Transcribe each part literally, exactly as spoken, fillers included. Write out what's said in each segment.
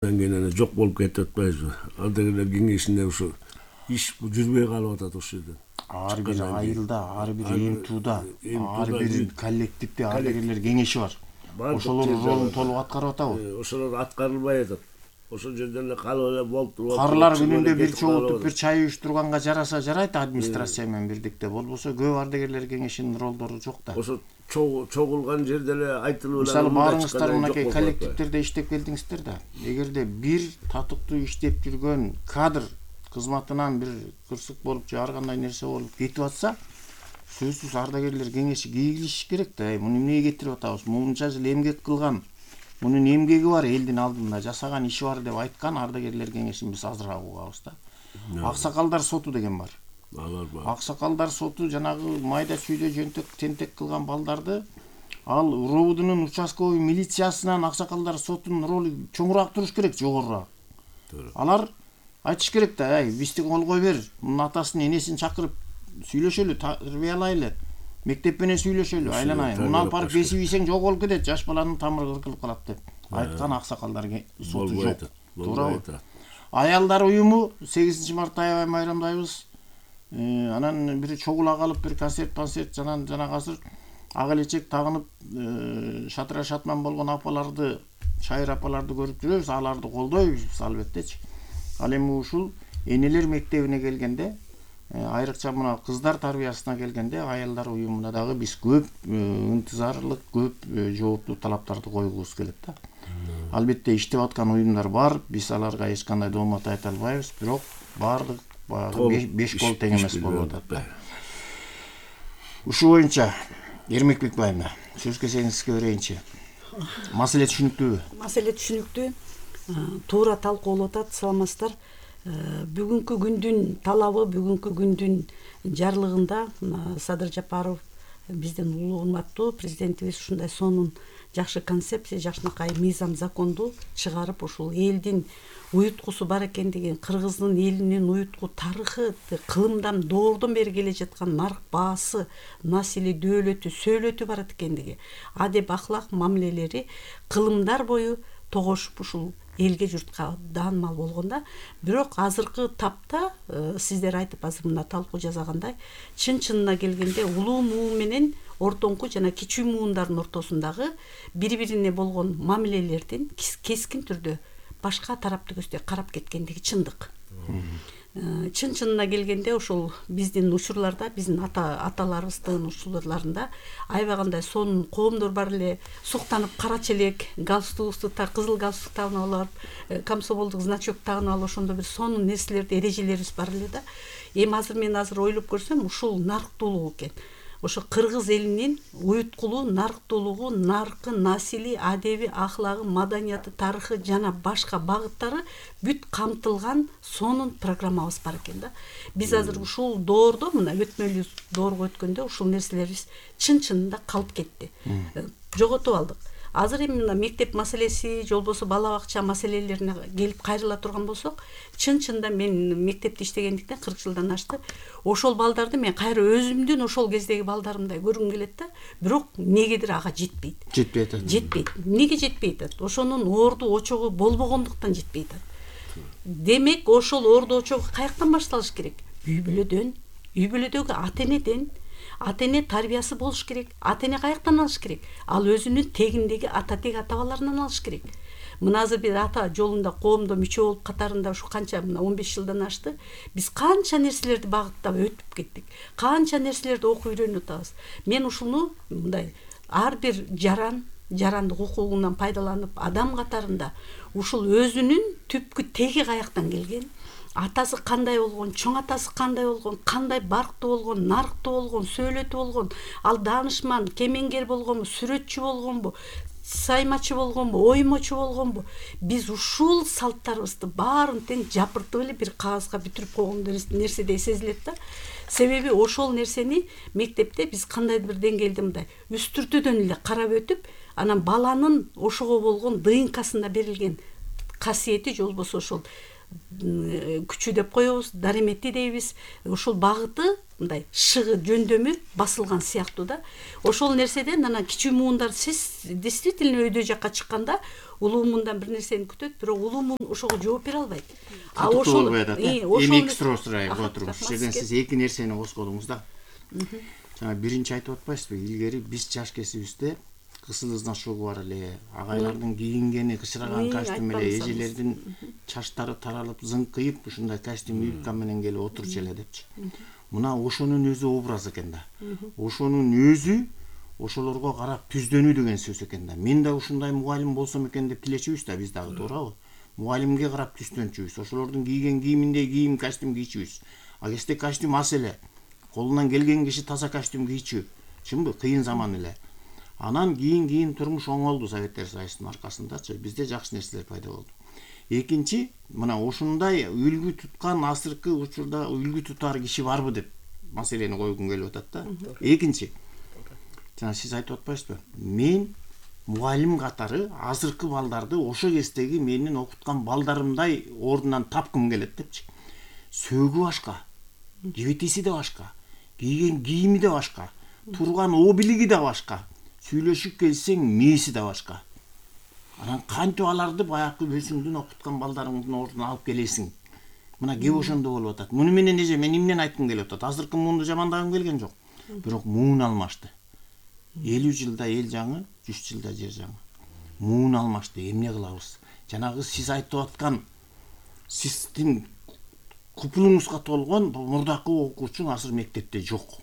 Кийин жок болуп кетип атпайбызбы? Ардагерлер кеңешинде ушу иш жүрбөй калып атат ошол жерден. Ар бир айылда, ар бир эм тууда, ар бир коллективде ардагерлер кеңеши бар. Ошолор ролун толук аткарып атабы? Ошолор аткарылбай атат. Ошол жерден эле калып эле болуп. Карлар күнүндө бир чогултуп бир чай уюштурганга жараса жарайт администрация менен бирдикте. Болбосо көп ардагерлер кеңешинин ролдору жок да. Ошо чогулган жерде эле айтылып эле. Мисалы баарыңыздар мынакей коллективдерде иштеп келдиңиздер да. Эгерде бир татыктуу иштеп жүргөн кадр кызматынан бир кырсык болуп же ар кандай нерсе болуп кетип атса, сөзсүз ардагерлер кеңеши кийилиш керек да. Муну эмнеге кетирип атабыз? Мынча жыл эмгек кылган, мунун эмгеги бар, элдин алдында жасаган иши бар деп айткан ардагерлер кеңешин биз азыраак угабыз да. Аксакалдар соту деген бар. Алар бар. Аксакалдар соту жанагы майда чүйдө жөнтөк тентек кылган балдарды ал РОВДунун участковый милициясынан аксакалдар сотунун ролу чоңураак туруш керек, жогорураак. Алар айтыш керек да, ай, бизди колгой бер, мунун атасын, энесин чакырып сүйлөшөлү, тарбиялайлы. Мектеп менен сүйлөшөлү, айланайын. Муну алып барып бесип ийсең жок болуп кетет, жаш баланын тамыры кыркылып калат деп айткан аксакалдар соту жок. Туурабы? Аялдар уюму сегизинчи мартта аябай майрамдайбыз. Анан бир чогула калып бир концерт-концерт жанан жана азыр ак элечек тагынып шатыра шатман болгон апаларды, шайыр апаларды көрүп жүрөбүз, аларды колдойбуз албеттечи. Ал эми ушул энелер мектебине келгенде, айрыкча мына кыздар тарбиясына келгенде аялдар уюмуна дагы биз көп ынтызарлык, көп жооптуу талаптарды койгубуз келет да. Албетте иштеп аткан уюмдар бар, биз аларга эч кандай доомат айта албайбыз, бирок баардык баягы беш кол тең эмес болуп атат да. Ушул боюнча Эрмек Бекбаевна, сөз кезегиңизге берейинчи. Маселе түшүнүктүүбү? Маселе түшүнүктүү. Туура талкуулап атат, саламатсыздар. Бүгүнкү күндүн талабы, бүгүнкү күндүн жарлыгында Садыр Жапаров биздин улуу урматтуу президентибиз ушундай сонун жакшы концепция, жакшынакай мыйзам законду чыгарып, ушул элдин уюткусу бар экендигин, кыргыздын элинин уютку тарыхы, кылымдан доордон бери келе жаткан нарк баасы, насили дөөлөтү, сөөлөтү бар экендиги, адеп ахлак мамилелери кылымдар бою тогошуп ушул элге журтка даанымал болгонда, бирок азыркы тапта сиздер айтып азыр мына талкуу жасагандай, чын-чынына келгенде улуу муу менен ортоңку жана кичүү муундардын ортосундагы бири-бирине болгон мамилелердин кескин түрдө башка тарапты көздөй карап кеткендиги чындык. Чын-чынына келгенде ошол биздин учурларда, биздин аталарыбыздын учурларында аябагандай сонун коомдор бар эле, суктанып кара челек, галстукту та кызыл галстук тагынып алып, комсомолдук значок тагынып алып, ошондо бир сонун нерселерди, эрежелерибиз бар эле да. Эми азыр мен азыр ойлоп көрсөм, ушул нарктуулук экен. Ошо кыргыз элинин уюткулуу, нарктуулугу, наркы, насили, адеби, ахлагы, маданияты, тарыхы жана башка багыттары бүт камтылган сонун программабыз бар экен да. Биз азыр ушул доордо, мына өтмөлүү доорго өткөндө ушул нерселерибиз чын-чынында калып кетти. Жоготуп алдык. Азыр эми мына мектеп маселеси, же болбосо бала бакча маселелерине келип кайрыла турган болсок, чын-чынында мен мектепте иштегендиктен кырк жылдан ашты. Ошол балдарды мен кайра өзүмдүн ошол кездеги балдарымдай көргүм келет да, бирок негедир ага жетпейт. Жетпейт. Жетпейт. Эмнеге жетпейт? Ошонун орду очогу болбогондуктан жетпейт. Демек, ошол орду очогу каяктан башталыш керек? Үй бүлөдөн, үй бүлөдөгү ата-энеден. Ата-эне тарбиясы болуш керек. Ата-эне каяктан алыш керек? Ал өзүнүн тегиндеги ата-тег ата-бабаларынан алыш керек. Мына азыр бир ата жолунда коомдо мүчө болуп катарында ушу канча мына он беш жылдан ашты. Биз канча нерселерди багыттап өтүп кеттик. Канча нерселерди окуп үйрөнүп атабыз. Мен ушуну мындай ар бир жаран жарандык укугунан пайдаланып, адам катарында ушул өзүнүн түпкү теги каяктан келген, атасы кандай болгон, чоң атасы кандай болгон, кандай барктуу болгон, нарктуу болгон, сөөлөтү болгон, ал даанышман, кемеңгер болгонбу, сүрөтчү болгонбу, саймачы болгонбу, оймочу болгонбу, биз ушул салттарыбызды баарын тең жапыртып эле бир кагазга бүтүрүп койгон нерседей сезилет да. Себеби ошол нерсени мектепте биз кандайдыр бир деңгээлде мындай үстүртүдөн эле карап өтүп, анан баланын ошого болгон ДНКсында берилген касиети, же болбосо ошол күчү деп коебуз, дареметти дейбиз. Ошол багыты мындай шыгы жөндөмү басылган сыяктуу да. Ошол нерседен анан кичүү муундар сиз действительно өйдө жакка чыкканда улуу муундан бир нерсени күтөт, бирок улуу муун ошого жооп бере албайт. А ошол болбой атат. Эми экстра отуруп ушул жерден сиз эки нерсени козгодуңуз да. Жана биринчи айтып атпайсызбы, илгери биз жаш кесибизде кысылыздан шогу бар эле, агайлардын кийингени кычыраган костюм эле, эжелердин чачтары таралып, зыңкыйып ушундай костюм юбка менен келип отурчу эле депчи. Мына ошонун өзү образ экен да. Ошонун өзү ошолорго карап түздөнүү деген сөз экен да. Мен да ушундай мугалим болсом экен деп тилечүбүз да биз дагы, туурабы? Мугалимге карап түздөнчүбүз. Ошолордун кийген кийиминдей кийим, костюм кийчүбүз. А кезде костюм аз эле. Колунан келген киши таза костюм кийчү. Чынбы? Кыйын заман эле. Анан кийин кийин турмуш оңолду Советтер Союзунун аркасындачы. Бизде жакшы нерселер пайда болду. Экинчи, мына ушундай үлгү туткан азыркы учурда үлгү тутар киши барбы деп маселени койгум келип атат да. Экинчи, жана сиз айтып атпайсызбы? Мен мугалим катары азыркы балдарды ошо кездеги менин окуткан балдарымдай ордунан тапкым келет депчи. Сөөгү башка, жебетеси да башка, кийген кийими да башка, турган обилиги да башка, сүйлөшүп келсең мээси да башка. Анан кантип аларды баягы өзүңдүн окуткан балдарыңдын ордуна алып келесиң? Мына кеп ошондо болуп атат. Муну менен эже мен эмнени айткым келип атат? Азыркы муунду жамандагым келген жок. Бирок муун алмашты. элүү жылда эл жаңы, жүз жылда жер жаңы. Муун алмашты. Эмне кылабыз? Жанагы сиз айтып аткан сиздин купулуңузга толгон мурдакы окуучу азыр мектепте жок.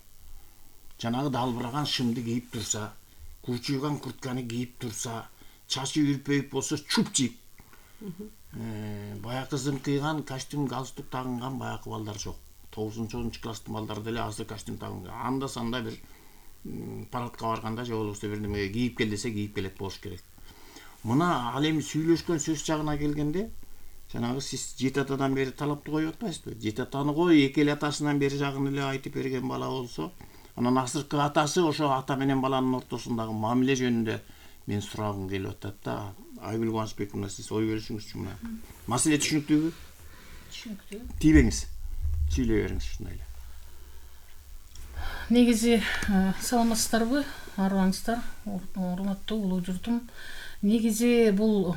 Жанагы далбыраган шымды кийип турса, курчуйган куртканы кийип турса, чачы үрпөйүп болсо чуп жийип, баягы зыңкыйган костюм, галстук тагынган баягы балдар жок. тогузунчу онунчу класстын балдары деле азыр костюм тагынган. Анда санда бир парадка барганда же болбосо бир неме кийип кел десе кийип келет болуш керек. Мына ал эми сүйлөшкөн сөз жагына келгенде, жанагы сиз жети атадан бери талапты коюп атпайсызбы? Жети атаны кой, эки эле атасынан бери жагын эле айтып берген бала болсо, анан азыркы атасы ошо ата менен баланын ортосундагы мамиле жөнүндө мен сурагым келип атат да. Айгүл Кубанычбековна, сиз ой бөлүшүңүзчү мына. Маселе түшүнүктүүбү? Түшүнүктүү. Тийбеңиз. Сүйлөй бериңиз ушундай эле. Негизи саламатсыздарбы, арыбаңыздар, урматтуу улуу журтум. Негизи бул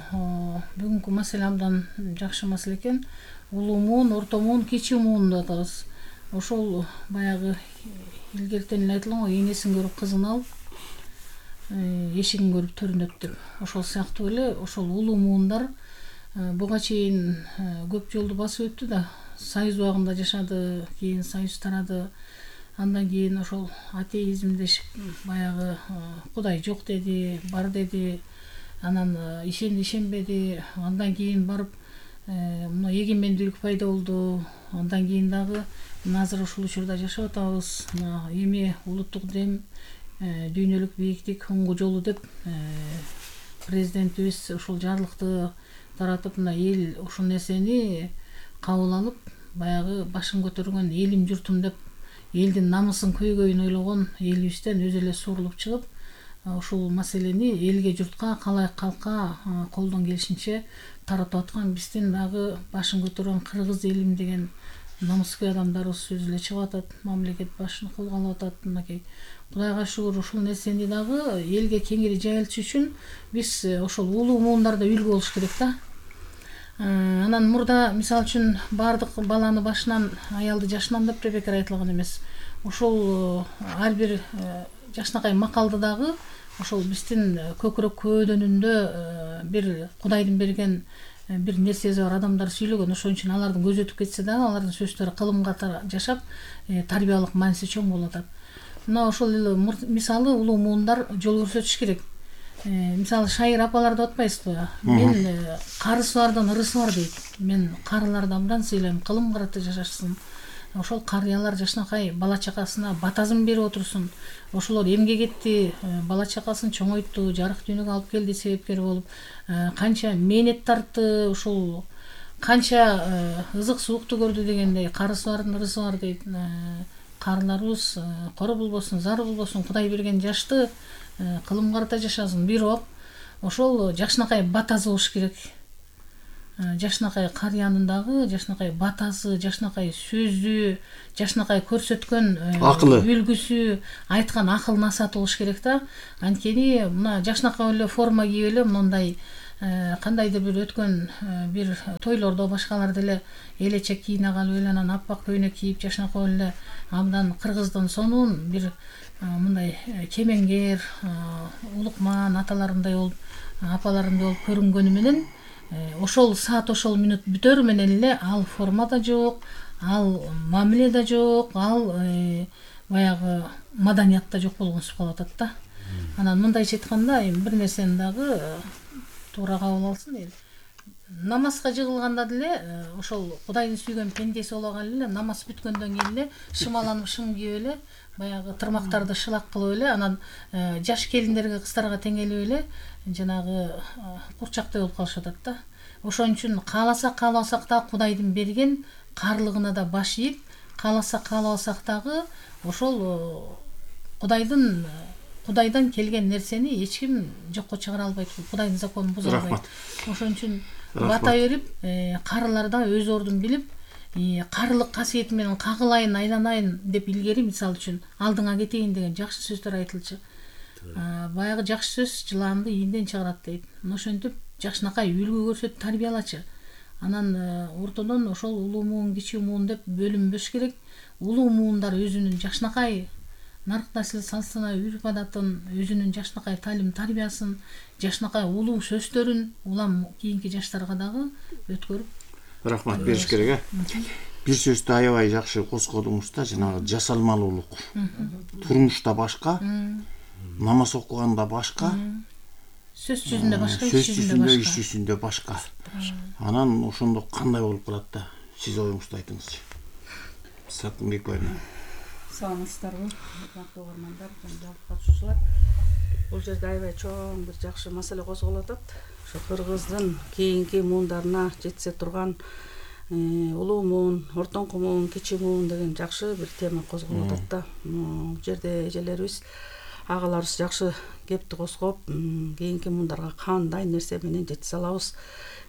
бүгүнкү маселе абдан жакшы маселе экен. Улуу муун, орто муун, кичүү муун деп атабыз. Ошол баягы илгертен эле айтылган го, энесин көрүп кызын ал, эшигин көрүп төрүн өт деп. Ошол сыяктуу эле ошол улуу муундар буга чейин көп жолду басып өттү да. Союз убагында жашады, кийин союз тарады. Андан кийин ошол атеизм дешип баягы Кудай жок деди, бар деди. Анан ишенди, ишенбеди. Андан кийин барып мына эгемендүүлүк пайда болду. Андан кийин дагы азыр ушул учурда жашап атабыз. Эми улуттук дем, дүйнөлүк бийиктик оңго жолу деп президентибиз ушул жарлыкты таратып, мына эл ушул нерсени кабыл алып, баягы башын көтөргөн элим журтум деп элдин намысын көйгөйүн ойлогон элибизден өзү эле сурулуп чыгып, ушул маселени элге, журтка, калайык калкка колдон келишинче таратып аткан биздин дагы башын көтөргөн кыргыз элим деген намыскөй адамдарыбыз өзү эле чыгып атат, мамлекет башын колго алып атат. Мынакей Кудайга шүгүр, ушул нерсени дагы элге кеңири жайылтыш үчүн биз ошол улуу муундарда үлгү болуш керек да. Анан мурда мисалы үчүн бардык баланы башынан, аялды жашынан деп бекер айтылган эмес. Ошол ар бир жакшынакай макалды дагы ошол биздин көкүрөк көөдөнүндө бир Кудайдын берген бир нерсеси бар адамдар сүйлөгөн. Ошон үчүн алардын көзү өтүп кетсе дагы алардын сөздөрү кылымга жашап тарбиялык мааниси чоң болуп атат. Мына ошол эле мисалы улуу муундар жол көрсөтүш керек. Мисалы шайыр апалар деп атпайсызбы? Мен карысы бардын ырысы бар дейт. Мен карыларды абдан сыйлайм, кылым карата жашашсын. Ошол карыялар жашынакай бала чакасына батазын берип отурсун. Ошолор эмгек этти, бала чакасын чоңойтту, жарык дүйнөгө алып келди, себепкер болуп, канча мээнет тартты, ушул канча ызык суукту көрдү дегендей, карысы бардын ырысы бар дейт. Карыларыбыз кора болбосун, зар болбосун, Кудай берген жашты кылым карата жашасын, бирок ошол жакшынакай батазы болуш керек. жашынакай карыянын дагы жашынакай батасы, жашынакай сөзү, жашынакай көрсөткөн акылы, үлгүсү, айткан акыл насааты болуш керек да. Анткени мына жашынакай эле форма кийип эле мындай кандайдыр бир өткөн бир тойлордо башкалар деле элечек кийине калып эле анан аппак көйнөк кийип жашынакай эле абдан кыргыздын сонун бир мындай кемеңгер, улукман аталарындай болуп, апаларындай болуп көрүнгөнү менен ошол саат ошол мүнөт бүтөр менен эле ал форма да жок, ал мамиле да жок, ал баягы маданият да жок болгонсуп калып атат да. Анан мындайча айтканда бир нерсени дагы туура кабыл алсын эл. Намазга жыгылганда деле ошол Кудайдын сүйгөн пендеси боло калып эле намаз бүткөндөн кийин эле шымаланып шым кийип эле баягы тырмактарды шылак кылып эле анан жаш келиндерге, кыздарга теңелип эле жанагы курчактай болуп калышып атат да. Ошон үчүн кааласак каалабасак да Кудайдын берген каарлыгына да баш ийип, кааласак каалабасак дагы ошол Кудайдын Кудайдан келген нерсени эч ким жокко чыгара албайт, Кудайдын законун буза албайт. Ошон үчүн бата берип, карыларда өз ордун билип, карылык касиети менен кагылайын, айланайын деп илгери мисалы үчүн алдыңа кетейин деген жакшы сөздөр айтылчу. Баягы жакшы сөз жыланды ийинден чыгарат дейт. Ошентип жакшынакай үлгү көрсөтүп тарбиялачы. Анан ортодон ошол улуу муун, кичүү муун деп бөлүнбөш керек. Улуу муундар өзүнүн жакшынакай нарк насил салсына, үрп адатын, өзүнүн жакшынакай талим тарбиясын, жакшынакай улуу сөздөрүн улам кийинки жаштарга дагы өткөрүп рахмат бериш керек, э. Бир сөздү аябай жакшы коскодуңуз да, жанагы жасалмалуулук. Турмушта башка, намаз окуганда башка, сөз жүзүндө башка, сөз жүзүндө, иш жүзүндө башка. Анан ошондо кандай болуп калат да? Сиз оюңузду айтыңызчы. Сатынбек айна. Саламатсыздарбы, урматтуу угармандар, жана катышуучулар. Бул жерде аябай чоң бир жакшы маселе козголуп атат. Ошо кыргыздын кийинки муундарына жетсе турган улуу муун, ортоңку муун, кичи муун деген жакшы бир тема козголуп атат да. Бул жерде эжелерибиз, агаларыбыз жакшы кепти козгоп, кийинки муундарга кандай нерсе менен жетисе алабыз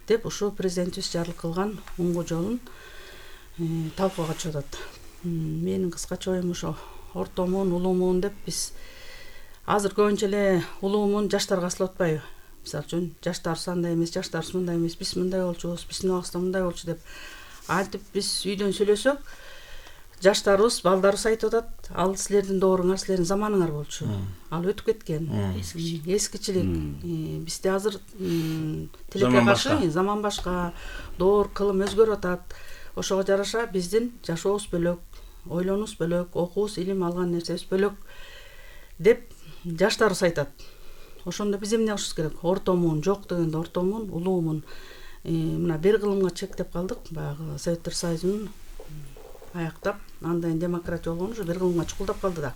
деп ушу президентибиз жарыл кылган уңгу жолун талкууга чыгып атат. Менин кыскача оюм ошо орто муун, улуу муун деп биз азыр көбүнчө эле улуу муун жаштарга асылып атпайбы? Мисалы үчүн жаштарыбыз андай эмес, жаштарыбыз мындай эмес, биз мындай болчубуз, биздин убагыбызда мындай болчу деп айтып биз үйдөн сүйлөсөк, жаштарыбыз, балдарыбыз айтып атат, ал силердин дооруңар, силердин заманыңар болчу. Ал өтүп кеткен. Эскичилик. Бизде азыр тилекке каршы заман башка, доор, кылым өзгөрүп атат. Ошого жараша биздин жашообуз бөлөк, ойлонуубуз бөлөк, окуубуз, илим алган нерсебиз бөлөк деп жаштарыбыз айтат. Ошондо биз эмне кылышыбыз керек? Орто муун жок дегенде орто муун, улуу муун мына бир кылымга чектеп калдык. Баягы Советтер Союзунун аяктап, андайын демократия болгон ушу бир кылымга чукулдап калды да.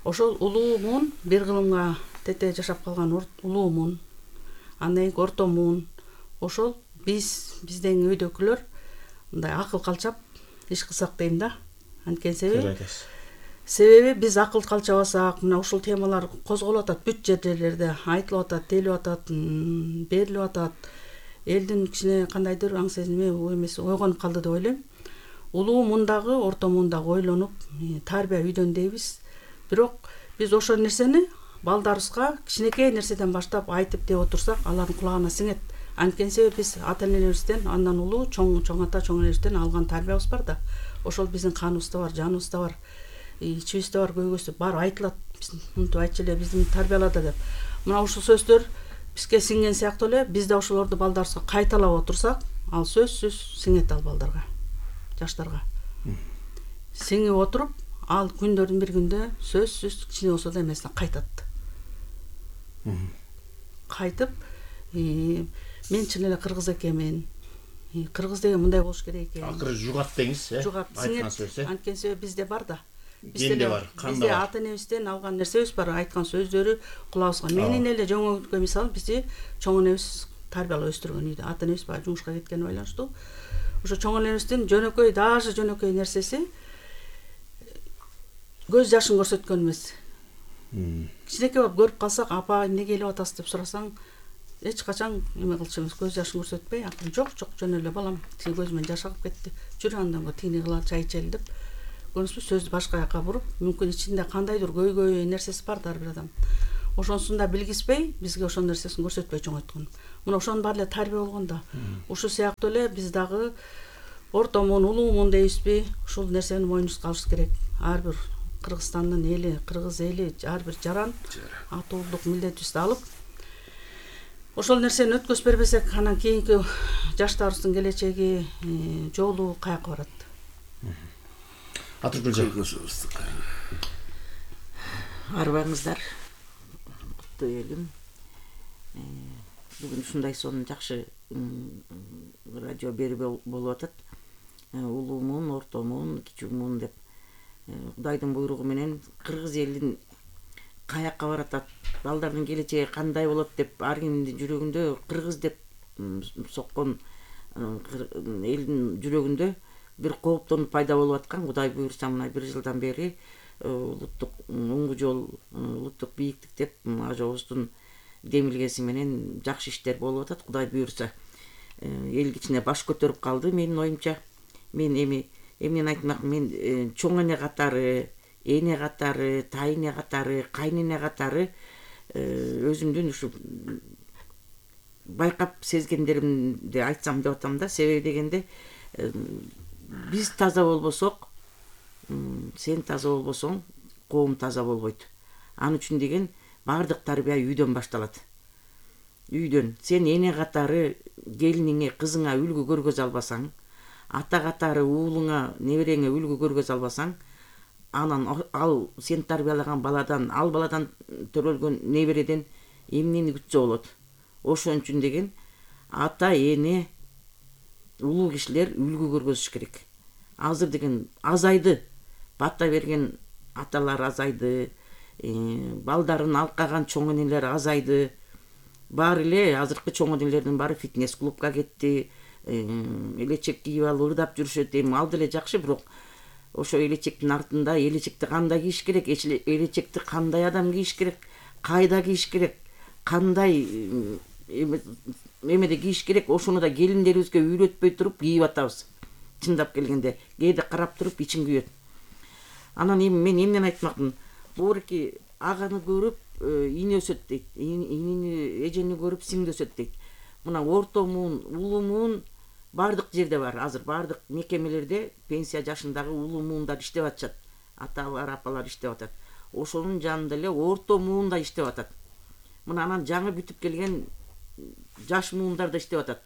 Ошол улуу муун бир кылымга тете жашап калган улуу муун, андан кийин орто муун. Ошол биз, биздин үйдөгүлөр мындай акыл калчап иш кылсак дейм да. Анткени себеби Себеби биз акыл калчабасак, мына ушул темалар козголуп атат, бүт жерлерде айтылып атат, делип атат, берилип атат. Элдин кичине кандайдыр аң сезими эмеси ойгонуп калды деп ойлойм. Улуу мундагы, орто мундагы ойлонуп, тарбия үйдөн дейбиз. Бирок биз ошол нерсени балдарыбызга кичинекей нерседен баштап айтып деп отурсак, алардын кулагына сиңет. Анткени себеби биз ата-энелерибизден, андан улуу чоң чоң ата, чоң энебизден алган тарбиябыз бар да. Ошол биздин каныбызда бар, жаныбызда бар. Ичибизде бар, көйгөйсү бар, айтылат. Биз мынтип айтчу эле биздин тарбиялады деп. Мына ушул сөздөр бизге сиңген сыяктуу эле, биз да ошолорду балдарыбызга кайталап отурсак, ал сөзсүз сиңет ал балдарга, жаштарга. Сиңип отуруп, ал күндөрдүн бир күндө сөзсүз кичине болсо да эмесине кайтат. Кайтып, мен чын эле кыргыз экенмин. Кыргыз деген мындай болуш керек экен. Акыры жугат деңиз, э? Жугат, сиңет. Анткени себеби бизде бар да. Бизде бар, кандай бизде ата-энебизден алган нерсебиз бар, айткан сөздөрү кулагыбызга. Менин эле жөңөккө мисалы бизди чоң энебиз тарбиялап өстүргөн үйдө. Ата-энебиз баягы жумушка кеткени байланыштуу. Ошо чоң энебиздин жөнөкөй, даже жөнөкөй нерсеси көз жашын көрсөткөн эмес. Кичинекей болуп көрүп калсак, апа эмне келип атасыз деп сурасаң, эч качан эме кылчу эмес, көз жашын көрсөтпөй, акырын жок жок жөн эле балам тиги көзүмөн жаш агып кетти, жүрү андан го тигини кылалы, чай ичели деп көрүнүппү, сөздү башка жака буруп, мүмкүн ичинде кандайдыр көйгөй нерсеси бар да ар бир адам. Ошонусун да билгизбей, бизге ошон нерсесин көрсөтпөй чоңойткон. Мына ошонун баары эле тарбия болгон да. Ушул сыяктуу эле биз дагы ортомун, улуумун дейбизби, ушул нерсени мойнубузга алыш керек. Ар бир Кыргызстандын эли, кыргыз эли, ар бир жаран атуулдук милдетибизди алып, ошол нерсени өткөзүп бербесек, анан кийинки жаштарыбыздын келечеги, жолу каяка барат. Атыркүлжа. Арбаңыздар, куттуу элим. Бүгүн ушундай сонун жакшы радио берүү болуп атат. Улуумун, ортомун, кичүүмүн деп Кудайдын буйругу менен кыргыз элин каяка баратат, балдардын келечеги кандай болот деп ар кимдин жүрөгүндө кыргыз деп соккон элдин жүрөгүндө бир кооптонуп пайда болуп аткан. Кудай буйрса мына бир жылдан бери улуттук оңгу жол, улуттук бийиктик деп ажообуздун демилгеси менен жакшы иштер болуп атат. Кудай буйрса эл кичине баш көтөрүп калды менин оюмча. Мен эми эмнени айтмак, мен чоң эне катары, эне катары, тайыне катары, кайнене катары өзүмдүн ушу байкап сезгендеримди айтсам деп атам да. Себеби дегенде биз таза болбосок, сен таза болбосоң, коом таза болбойт. Ал үчүн деген баардык тарбия үйдөн башталат. Үйдөн сен эне катары келиниңе, кызыңа үлгү көргөзө албасаң, ата катары уулуңа, небереңе үлгү көргөзө албасаң, анан ал сен тарбиялаган баладан, ал баладан төрөлгөн небереден эмнени күтсө болот. Ошон үчүн деген ата, эне, улуу кишилер үлгү көргөзүш керек. Азыр деген азайды, бата берген аталар азайды, балдарын алкаган чоң энелер азайды. Баары эле азыркы чоң энелердин баары фитнес клубка кетти, элечек кийип алып ырдап жүрүшөт. Эми ал деле жакшы, бирок ошо элечектин артында элечекти кандай кийиш керек, элечекти кандай адам кийиш керек, кайда кийиш керек, кандай эмеде кийиш керек, ошону да келиндерибизге үйрөтпөй туруп кийип атабыз. Чындап келгенде кээде карап туруп ичим күйөт. Анан эми мен эмнени айтмакмын? Боорки аганы көрүп ине өсөт дейт, инини, эжени көрүп сиңди өсөт дейт. Мына ортомун, улуумун баардык жерде бар. Азыр баардык мекемелерде пенсия жашындагы улуумундар иштеп атышат. Аталар, апалар иштеп атат. Ошонун жанында эле ортомун да иштеп атат. Мына анан жаңы бүтүп келген жаш муундар да иштеп атат.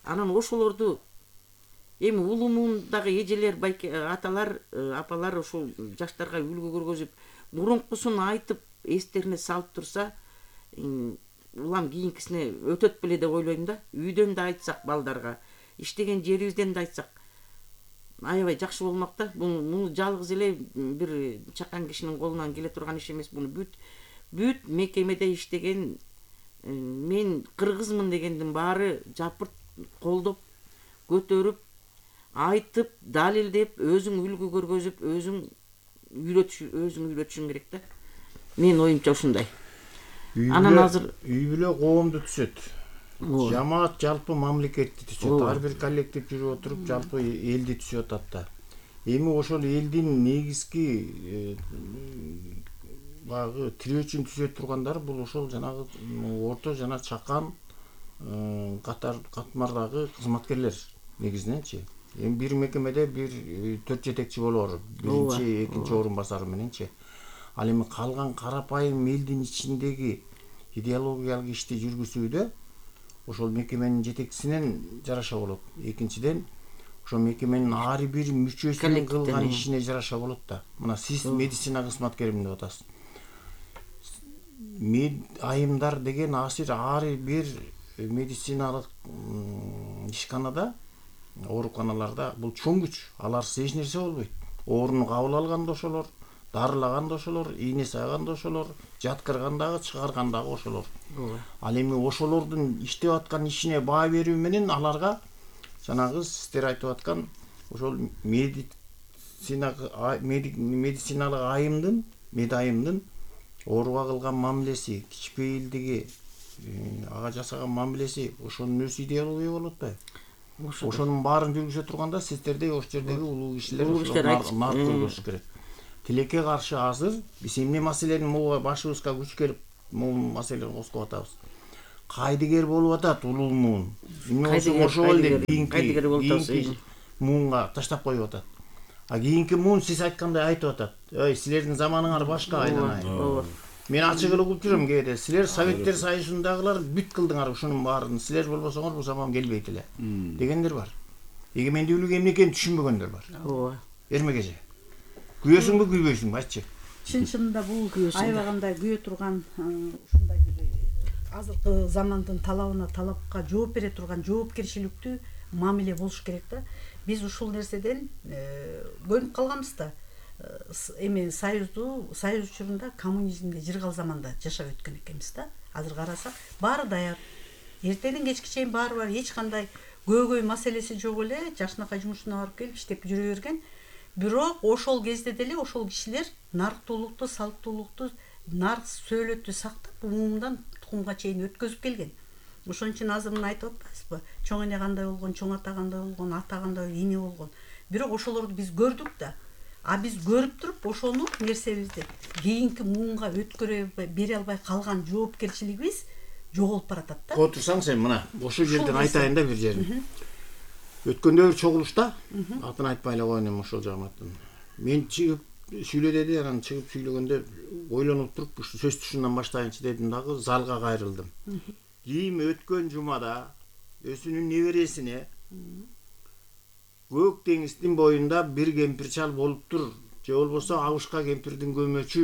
Анан ошолорду эми улуумундагы эжелер, аталар, апалар ошол жаштарга үлгү көргөзүп, мурункусун айтып, эстерине салып турса, улам кийинкисине өтөт беле деп ойлойм да. Үйдөн да айтсак балдарга, иштеген жерибизден да айтсак, аябай жакшы болмок да. Муну жалгыз эле бир чакан кишинин колунан келе турган иш эмес. Муну бүт бүт мекемеде иштеген мен кыргызмын дегендин баары жапырт колдоп, көтөрүп, айтып, далилдеп, өзүң үлгү көргөзүп, өзүң үйрөтүш, өзүң үйрөтүшүң керек да. Мен оюмча ушундай. Анан азыр үй бүлө коомду түзөт. Жамаат жалпы мамлекетти түзөт. Ар бир коллектив жүрүп отуруп жалпы элди түзөт атат да. Эми ошол элдин негизги багы тирөөчүн түзөт тургандар бул ошол жанагы орто жана чакан катар катмардагы кызматкерлер негизиненчи. Эми бир мекемеде бир төрт жетекчи болор, биринчи, экинчи орун басары мененчи. Ал эми калган карапайым элдин ичиндеги идеологиялык ишти жүргүзүүдө ошол мекеменин жетекчисинен жараша болот. Экинчиден, ошол мекеменин ар бир мүчөсүнүн кылган ишине жараша болот да. Мына сиз медицина кызматкеримин деп атасыз. Айымдар деген асир ар бир медициналык ишканада, ооруканаларда бул чоң күч. Аларсыз эч нерсе болбойт. Ооруну кабыл алганда ошолор, дарылаган да ошолор, ийне сайган да ошолор, жаткырган дагы, чыгарган дагы ошолор. Ал эми ошолордун иштеп аткан ишине баа берүү менен аларга жанагы сиздер айтып аткан ошол медицина медициналык айымдын, медайымдын ооруга кылган мамилеси, кичпейилдиги, ага жасаган мамилеси ошонун өз идеология болуп атпайбы? Ошонун баарын жүргүзө турганда сиздердей ош жердеги улуу кишилер нарк көрүш керек. Тилекке каршы азыр биз эмне маселени могу башыбызга күч келип могу маселени козгоп атабыз. Кайдыгер болуп атат улуу муун. Эмне болсо ошол деп кийинки муунга таштап коюп атат. А кийинки муун сиз айткандай айтып атат. Ой, силердин заманыңар башка айланай. Мен ачык эле угуп жүрөм кээде. Силер Советтер Союзундагылар бүт кылдыңар ушунун баарын. Силер болбосоңор бул заман келбейт эле дегендер бар. Эгемендүүлүк эмне экенин түшүнбөгөндөр бар. Ооба. Эрмекеже. Күйөсүңбү, күйбөйсүңбү айтчы. Чын чынында бул аябагандай күйө турган ушундай бир азыркы замандын талабына талапка жооп бере турган жоопкерчиликтүү мамиле болуш керек да. Биз ушул нерседен көнүп калганбыз да. Эми союзду союз учурунда коммунизмде жыргал заманда жашап өткөн экенбиз да. Азыр карасак баары даяр. Эртеден кечке чейин баары бар, эч кандай көйгөй маселеси жок эле, жашынакай жумушуна барып келип иштеп жүрө берген. Бирок ошол кезде деле ошол кишилер нарктуулукту, салттуулукту, нарк сөөлөттү сактап, умумдан тукумга чейин өткөзүп келген. Ошон үчүн азыр мына айтып атпайсызбы? Чоң эне кандай болгон, чоң ата кандай болгон, ата кандай, эне болгон. Бирок ошолорду биз көрдүк да. А биз көрүп туруп ошону нерсебизди кийинки муунга өткөрө бере албай калган жоопкерчилигибиз жоголуп баратат да. Отурсаң сен мына ошол жерден айтайын да бир жерин. Өткөндө бир чогулушта, атын айтпай эле коеюн эми ошол жагыматтан. Мен чыгып сүйлө деди, анан чыгып сүйлөгөндө ойлонуп туруп ушу сөздү ушундан баштайынчы дедим дагы залга кайрылдым. Кийим өткөн жумада өзүнүн небересине көк деңиздин боюнда бир кемпир чал болуптур, же болбосо Абышка кемпирдин көмөчү,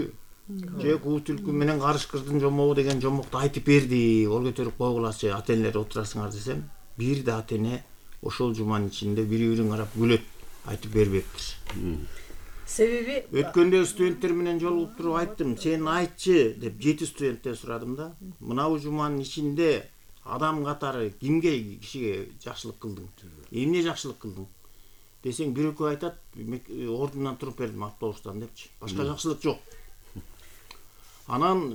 же Куу түлкү менен Карышкырдын жомогу деген жомокту айтып берди. Ол көтөрүп койгулачы, ата-энелер отурасыңар десем, бир да ата-эне ошол жуманын ичинде бири-бирин карап күлөт, айтып бербептир. Себеби өткөндө студенттер менен жолугуп туруп айттым, сен айтчы деп жети студенттен сурадым да. Мына бул жуманын ичинде адам катары кимге кишиге жакшылык кылдың? Эмне жакшылык кылдың? Десең бир экөө айтат, ордунан туруп бердим автобустан депчи. Башка жакшылык жок. Анан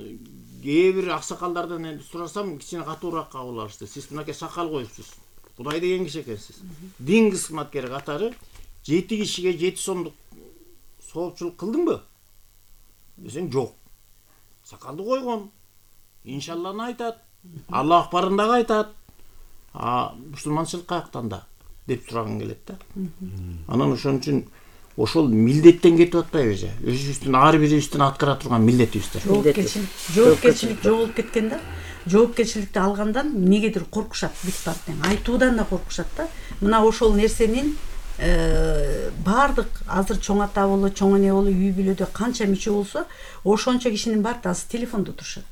кээ бир аксакалдардан энди сурасам, кичине катуураак кабыл алышты. Сиз мынакей сакал коюпсуз. Кудай деген киши экенсиз. Дин кызматкери катары жети кишиге жети сомдук соопчулук кылдыңбы? Десең жок. Сакалды койгон. Иншалланы айтат. Аллах акбарын дагы айтат. А мусулманчылык каяктан да деп сураган келет да. Анан ошон үчүн ошол милдеттен кетип атпайбы же? Өзүбүздүн ар бирибиздин аткара турган милдетибиздер. Жоопкерчилик, жоопкерчилик жоголуп кеткен да. Жоопкерчиликти алгандан эмнегедир коркушат бүт партия. Айтуудан да коркушат да. Мына ошол нерсенин баардык азыр чоң ата боло, чоң эне боло, үй бүлөдө канча мүчө болсо, ошончо кишинин баары азыр телефондо турушат.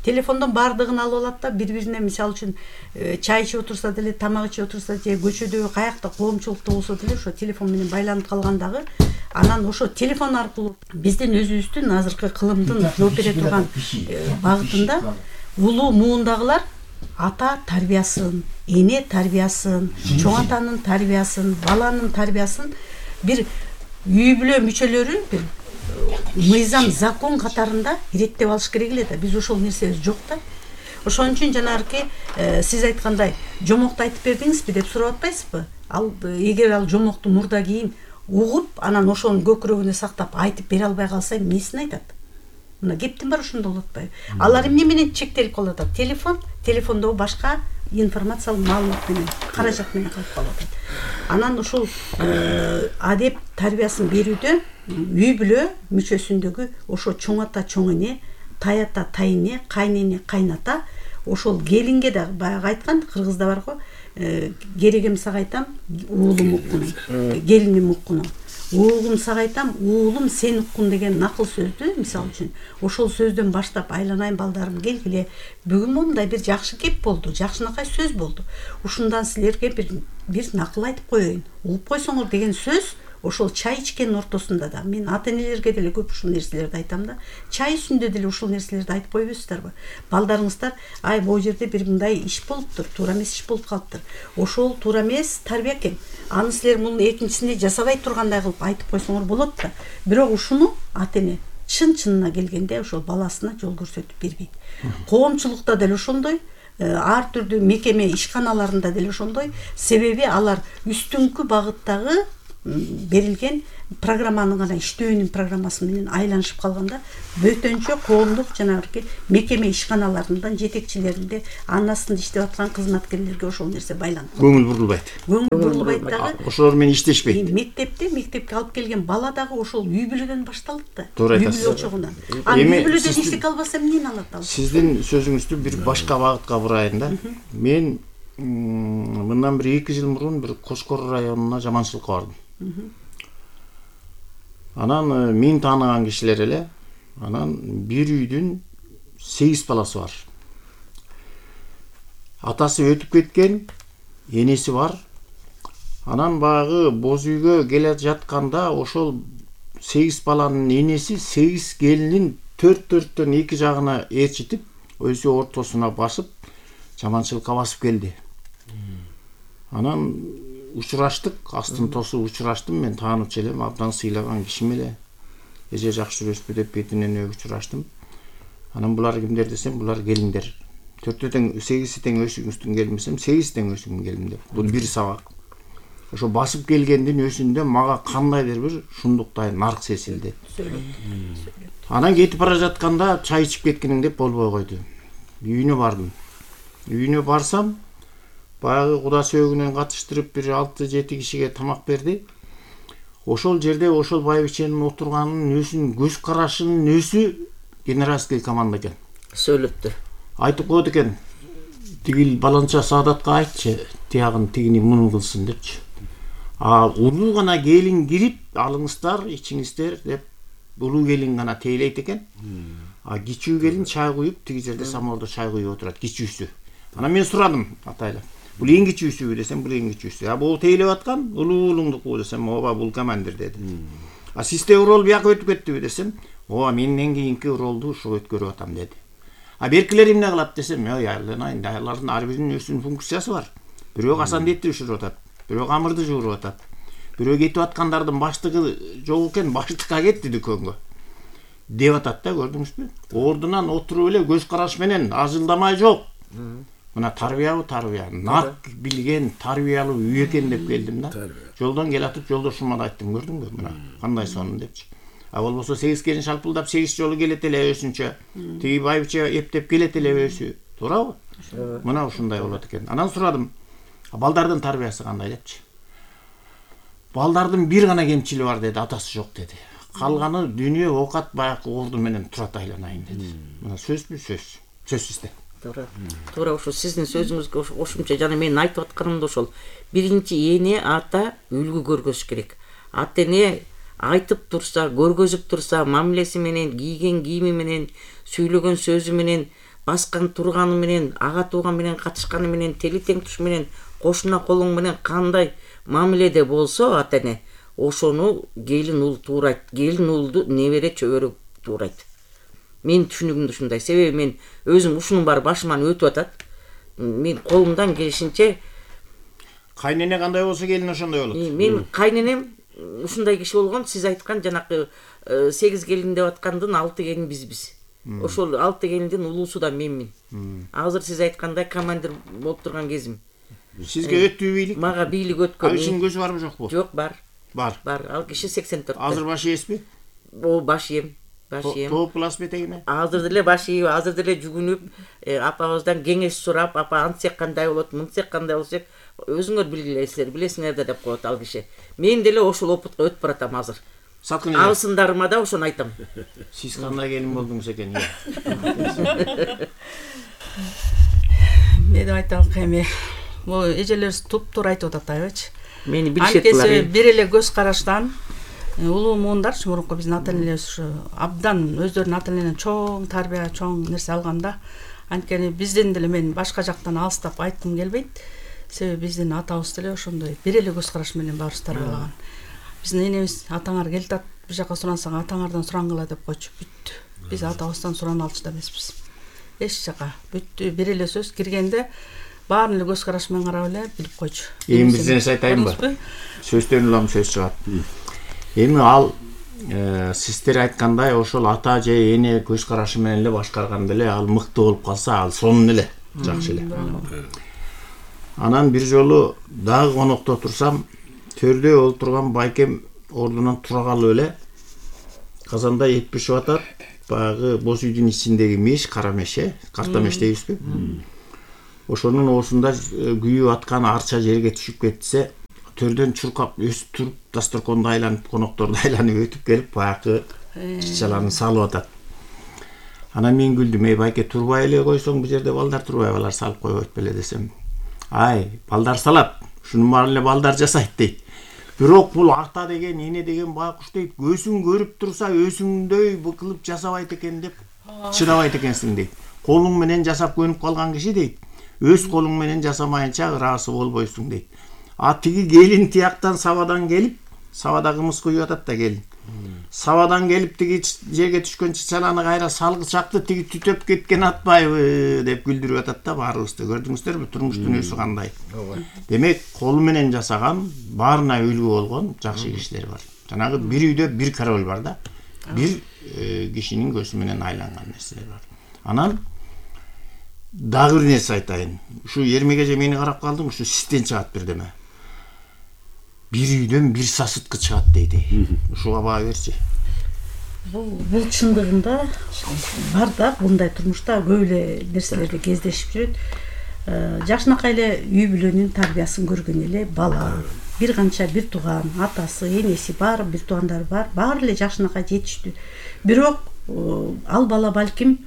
Телефондон баардыгын алып алат да, бири-бирине мисалы үчүн чай ичип отурса деле, тамак ичип отурса же көчөдө каякта коомчулукта болсо деле ошо телефон менен байланып калгандагы, анан ошо телефон аркылуу биздин өзүбүздүн азыркы кылымдын жооп бере турган багытында улуу муундагылар ата тарбиясын, эне тарбиясын, чоң атанын тарбиясын, баланын тарбиясын бир үй бүлө мүчөлөрү бир мыйзам, закон катарында иреттеп алыш керек эле да. Биз ошол нерсебиз жок да. Ошон үчүн жанагы сиз айткандай жомокту айтып бердиңизби деп сурап атпайсызбы? Ал эгер ал жомокту мурда кийин угуп, анан ошонун көкүрөгүнө сактап айтып бере албай калса эмнесин айтат? Мына кептин баары ошондо болуп атпайбы? Алар эмне менен чектелип калып атат? Телефон, телефондо башка информациялык маалымат менен, каражат менен калып калып атат. Анан ушул адеп тарбиясын берүүдө үй бүлө мүчөсүндөгү ошо чоң ата, чоң эне, тай ата, тай эне, кайнене, кайната, ошол келинге да баягы айткан кыргызда бар го, керегем сага айтам, уулум уккун, келиним уккун. Уулум сага айтам, уулум сен уккун деген накыл сөздү, мисалы үчүн, ошол сөздөн баштап айланайын балдарым келгиле. Бүгүн мындай бир жакшы кеп болду, жакшынакай сөз болду. Ушундан силерге бир бир накыл айтып коеюн. Угуп койсоңор деген сөз ошол чай ичкендин ортосунда да. Мен ата-энелерге деле көп ушул нерселерди айтам да. Чай үстүндө деле ушул нерселерди айтып койбойсуздарбы? Балдарыңыздар, ай могу жерде бир мындай иш болуптур, туура эмес иш болуп калыптыр. Ошол туура эмес тарбия экен. Аны силер мунун экинчисинде жасабай тургандай кылып айтып койсоңор болот да. Бирок ушуну ата-эне чын-чынына келгенде ошол баласына жол көрсөтүп бербейт. Коомчулукта деле ошондой, ар түрдүү мекеме ишканаларында деле ошондой. Себеби алар үстүңкү багыттагы берилген программанын гана иштөөнүн программасы менен айланышып калганда бөтөнчө коомдук жанагы мекеме ишканаларындан жетекчилеринде анын астында иштеп аткан кызматкерлерге ошол нерсе байланып көңүл бурулбайт. көңүл бурулбайт дагы. Ошолор менен иштешпейт. Мектепте мектепке алып келген бала дагы ошол үй бүлөдөн башталат да. Туура Үй айтасыз. бүлө чогунан. А үй бүлөдөн иштек албаса эмнени алат ал? Сиздин сөзүңүздү бир башка багытка бурайын да. Мен мындан бир эки жыл мурун бир Кошкор районуна жаманчылыкка бардым. Анан мен тааныган кишилер эле, анан бир үйдүн сегиз баласы бар. Атасы өтүп кеткен, энеси бар. Анан багы боз үйгө келе жатканда ошол сегиз баланын энеси сегиз келинин төрт төрттөн эки жагына ээрчитип, өзү ортосуна басып, жаманчылыкка басып келди. Анан учураштык, астын тосуп учураштым, мен таанып элем, абдан сыйлаган кишим эле. Эже жакшы жүрөсүзбү деп бетинен өп учураштым. Анан булар кимдер десем, булар келиндер. Төртөө тең, сегизи тең өсүңүздүн келин десем, сегиз тең өсүңдүн келин деп. Бул бир сабак. Ошо басып келгендин өзүндө мага кандайдыр бир шундуктай нарк сезилди. Анан кетип бара жатканда чай ичип кеткениң деп болбой койду. Үйүнө бардым. Үйүнө барсам, баягы куда сөөгүнөн катыштырып бир алты жети кишиге тамак берди. Ошол жерде ошол байбиченин отурганын өзүнүн көз карашынын өзү генеральский команда экен. Сөйлөттү. Айтып койду экен. Тигил баланча Саадатка айтчы, тиягын тигини муну кылсын депчи. А улуу гана келин кирип, алыңыздар, ичиңиздер деп улуу келин гана тейлейт экен. А кичүү келин чай куюп, тиги жерде самолдо чай куюп отурат, кичүүсү. Анан мен сурадым атайлап. Бул эң кичүүсүбү десем, бул эң кичүүсү. А бул тейлеп аткан улуу уулуңдуку десем, ооба бул командир деди. А сизде урол бияка өтүп кеттиби десем, ооба менден кийинки уролду ушу өткөрүп атам деди. А беркилер эмне кылат десем, ой айланайын, алардын ар биринин өзүнүн функциясы бар. Бирөө касандетти бышырып атат, бирөө камырды жууруп атат. Бирөө кетип аткандардын баштыгы жок экен, баштыкка кетти дүкөнгө. Деп атат да, көрдүңүзбү? Ордунан отуруп эле көз караш менен ажылдамай жок. Мына тарбиябы тарбия, нарк билген тарбиялуу үй экен деп келдим да. Жолдон келатып жолдошума да айттым, көрдүңбү? Мына кандай сонун депчи. А болбосо сегиз келин шалпылдап сегиз жолу келет эле өзүнчө. Тиги байбиче эптеп келет эле өзү. Туурабы? Мына ушундай болот экен. Анан сурадым. Балдардын тарбиясы кандай депчи. Балдардын бир гана кемчили бар деди, атасы жок деди. Калганы дүйнө оокат баягы орду менен турат айланайын деди. Мына сөзбү сөз. Сөз сизде. Туура. Туура ошо сиздин сөзүңүзгө кошумча жана мен айтып атканым да ошол. Биринчи эне ата үлгү көргөзүш керек. Ата эне айтып турса, көргөзүп турса, мамилеси менен, кийген кийими менен, сүйлөгөн сөзү менен, баскан турганы менен, ага тууган менен катышканы менен, тели тең туш менен, кошуна колуң менен кандай мамиледе болсо ата эне, ошону келин уул туурайт. Келин уулду небере чөбөрө туурайт. Мен түшүнүгүм ушундай. Себеби мен өзүм ушунун баары башыман өтүп атат. Мен колумдан келишинче кайнене кандай болсо келин ошондой болот. Мен кайненем ушундай киши болгон, сиз айткан жанакы сегиз келин деп аткандын алты келин бизбиз. Ошол алты келиндин улуусу да менмин. Азыр сиз айткандай командир болуп турган кезим. Сизге өттү бийлик? Мага бийлик өткөн. Ал кишинин көзү барбы жокпу? Жок, бар. Бар. Бар. Ал киши сексен төрттө. Азыр баш ийесизби? О, баш ийем. Баш ийем. Топ плас бетегине? Азыр деле баш ийип, азыр деле жүгүнүп, апабыздан кеңеш сурап, апа антсек кандай болот, мынтсек кандай болсок, өзүңөр билгилейсиздер, билесиңер да деп коет ал киши. Мен деле ошол опытка өтүп баратам азыр. Саткын эле. Абысындарыма да ошону айтам. Сиз кандай келин болдуңуз экен? Мен айтам эми, бул эжелерибиз туп-туура айтып атат айбачы. Мени билишеттилар. Анткени бир эле көз караштан улуу муундарчы мурунку биздин ата энелерибиз ушу абдан өздөрүнүн ата энелеринен чоң тарбия, чоң нерсе алганда, анткени бизден деле мен башка жактан алыстап айткым келбейт. Себеби биздин атабыз деле ошондой бир эле көз караш менен баарыбыз тарбиялаган. Биздин энебиз атаңар келатат, бир жака сурансаң атаңардан сурангыла деп койчу. Бүттү. Биз атабыздан сурана алчу да эмеспиз. Эч жака бүттү, бир эле сөз киргенде баарын эле көз караш менен карап эле билип койчу. Эми бир нерсе айтайынбы? Сөздөн улам сөз чыгат. Эми ал сиздер айткандай ошол ата же эне көз карашы менен эле башкарганда эле ал мыкты болуп калса, ал сонун эле. жакшы эле. Анан бир жолу дагы конокто турсам, төрдө олтурган байкем ордунан тура калып эле казанда эт бишип атат. Баягы боз үйдүн ичиндеги меш, кара меш, э, карта меш дейбизби? Ошонун оосунда күйүп аткан арча жерге түшүп кетсе, төрдөн чуркап өсүп туруп, дасторконду айланып, конокторду айланып өтүп келип, баягы чычаларын салып атат. Анан мен күлдүм, эй байке, турбай эле койсоң, бул жерде балдар турбайбы, алар салып койбойт беле десем. Ай, балдар салат, шунун баарын эле балдар жасайт дейт. Бирок бул ата деген, эне деген байкуш дейт, көзүң көрүп турса, өзүңдөй быкылып жасабайт экен деп чыдабайт экенсиң дейт. Колуң менен жасап көнүп калган киши дейт, өз колуң менен жасамайынча ыраасы болбойсуң дейт. А тиги келин тияктан сабадан келип, сабада кымыз куюп атат да келин. Сабадан келип тиги жерге түшкөн чычаланы кайра салгычакты тиги түтөп кеткен атпайбы деп күлдүрүп атат да баарыбызды. Көрдүңүздөрбү турмуш дүйнөсү кандай? Демек, колу менен жасаган, баарына үлгү болгон жакшы кишилер бар. Жанагы бир үйдө бир король бар да. Бир кишинин көзү менен айланган нерселер бар. Анан дагы бир нерсе айтайын. Ушу Эрмекеже мени карап калдым, ушу систен чыгат бирдеме. Бир үйдөн бир сасыткы чыгат дейди. Ушуга баа берчи. Бул бул чындыгында бар да, мындай турмушта көп эле нерселерди кездешип жүрөт. Жакшынакай эле үй бүлөнүн тарбиясын көргөн эле бала, бир канча бир тууган, атасы, энеси бар, бир туугандары бар, баары эле жакшынакай жетиштүү. Бирок ал бала балким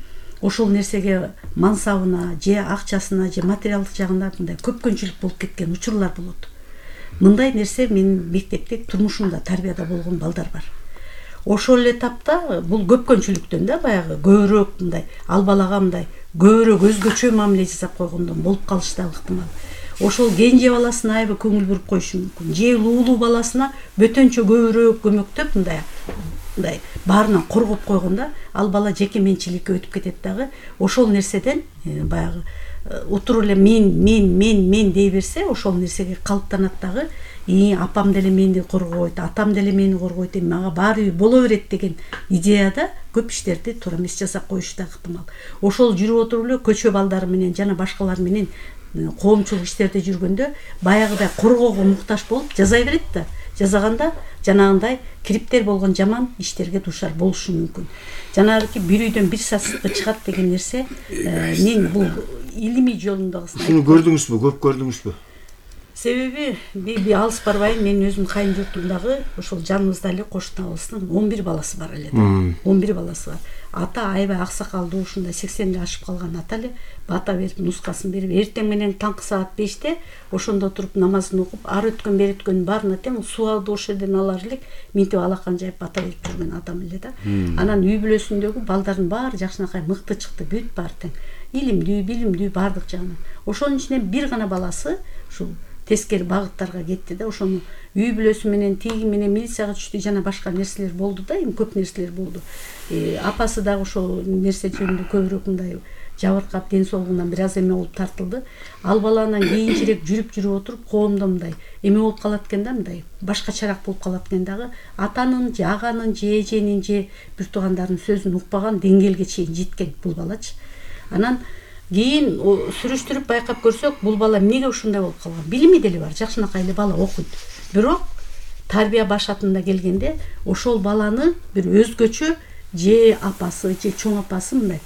ошол нерсеге мансабына, же акчасына, же материалдык жагында мындай көпкөнчүлүк болуп кеткен учурлар болот. Мындай нерсе менин мектепте турмушумда тарбияда болгон балдар бар. Ошол эле тапта бул көпкөнчүлүктөн да баягы көбүрөөк мындай ал балага мындай көбүрөөк өзгөчө мамиле жасап койгондон болуп калышы да ыктымал. Ошол кенже баласына аябай көңүл буруп коюшу мүмкүн. Же улуу баласына бөтөнчө көбүрөөк көмөктөп мындай мындай баарынан коргоп койгондо ал бала жеке менчиликке өтүп кетет дагы. Ошол нерседен баягы отуруп эле мен мен мен мен дей берсе, ошол нерсеге калыптанат дагы. И апам деле мени коргойт, атам деле мени коргойт, мага баары боло берет деген идеяда көп иштерди туура эмес жасап коюшу да ыктымал. Ошол жүрүп отуруп эле көчө балдары менен жана башкалар менен коомчулук иштерде жүргөндө баягыдай коргоого муктаж болуп жаза берет да. Жазаганда жанагындай кириптер болгон жаман иштерге дуушар болушу мүмкүн. Жанагы бир үйдөн бир сасыткы чыгат деген нерсе мен бул илимий жолундагысын Шуну көрдүңүзбү, көп көрдүңүзбү? Себеби би алыс барбайм, мен өзүм кайын журтумдагы ошол жаныбызда эле кошуна абыстын он бир баласы бар эле да. он бир баласы бар. Ата аябай аксакалдуу, ушундай сексенди ашып калган ата эле бата берип, нускасын берип, эртең менен таңкы саат беште ошондо туруп намазын окуп, ар өткөн бери өткөн баарына тең сууалды ошол жерден алар элек минтип алакан жайып бата берип жүргөн адам эле да. Анан үй бүлөсүндөгү балдардын баары жакшынакай мыкты чыкты, бүт баары тең. Илимдүү, билимдүү баардык жагынан. Ошонун ичинен бир гана баласы ушул тескери багыттарга кетти да. Ошону үй бүлөсү менен, тиги менен милицияга түштү, жана башка нерселер болду да, эми көп нерселер болду. Апасы дагы ошол нерсе жөнүндө көбүрөөк мындай жабыркап, ден соолугунан бир аз эме болуп тартылды. Ал баланан кийинчерээк жүрүп жүрүп отуруп коомдо мындай эме болуп калат экен да, мындай башкачараак болуп калат экен дагы. Атанын же аганын же эженин же бир туугандардын сөзүн укпаган деңгээлге чейин жеткен бул балачы. Анан кийин сүрүштүрүп байкап көрсөк, бул бала эмнеге ушундай болуп калган? Билими деле бар, жакшынакай эле бала окуйт. Бирок тарбия башатында келгенде ошол баланы бир өзгөчө же апасы же чоң апасы мындай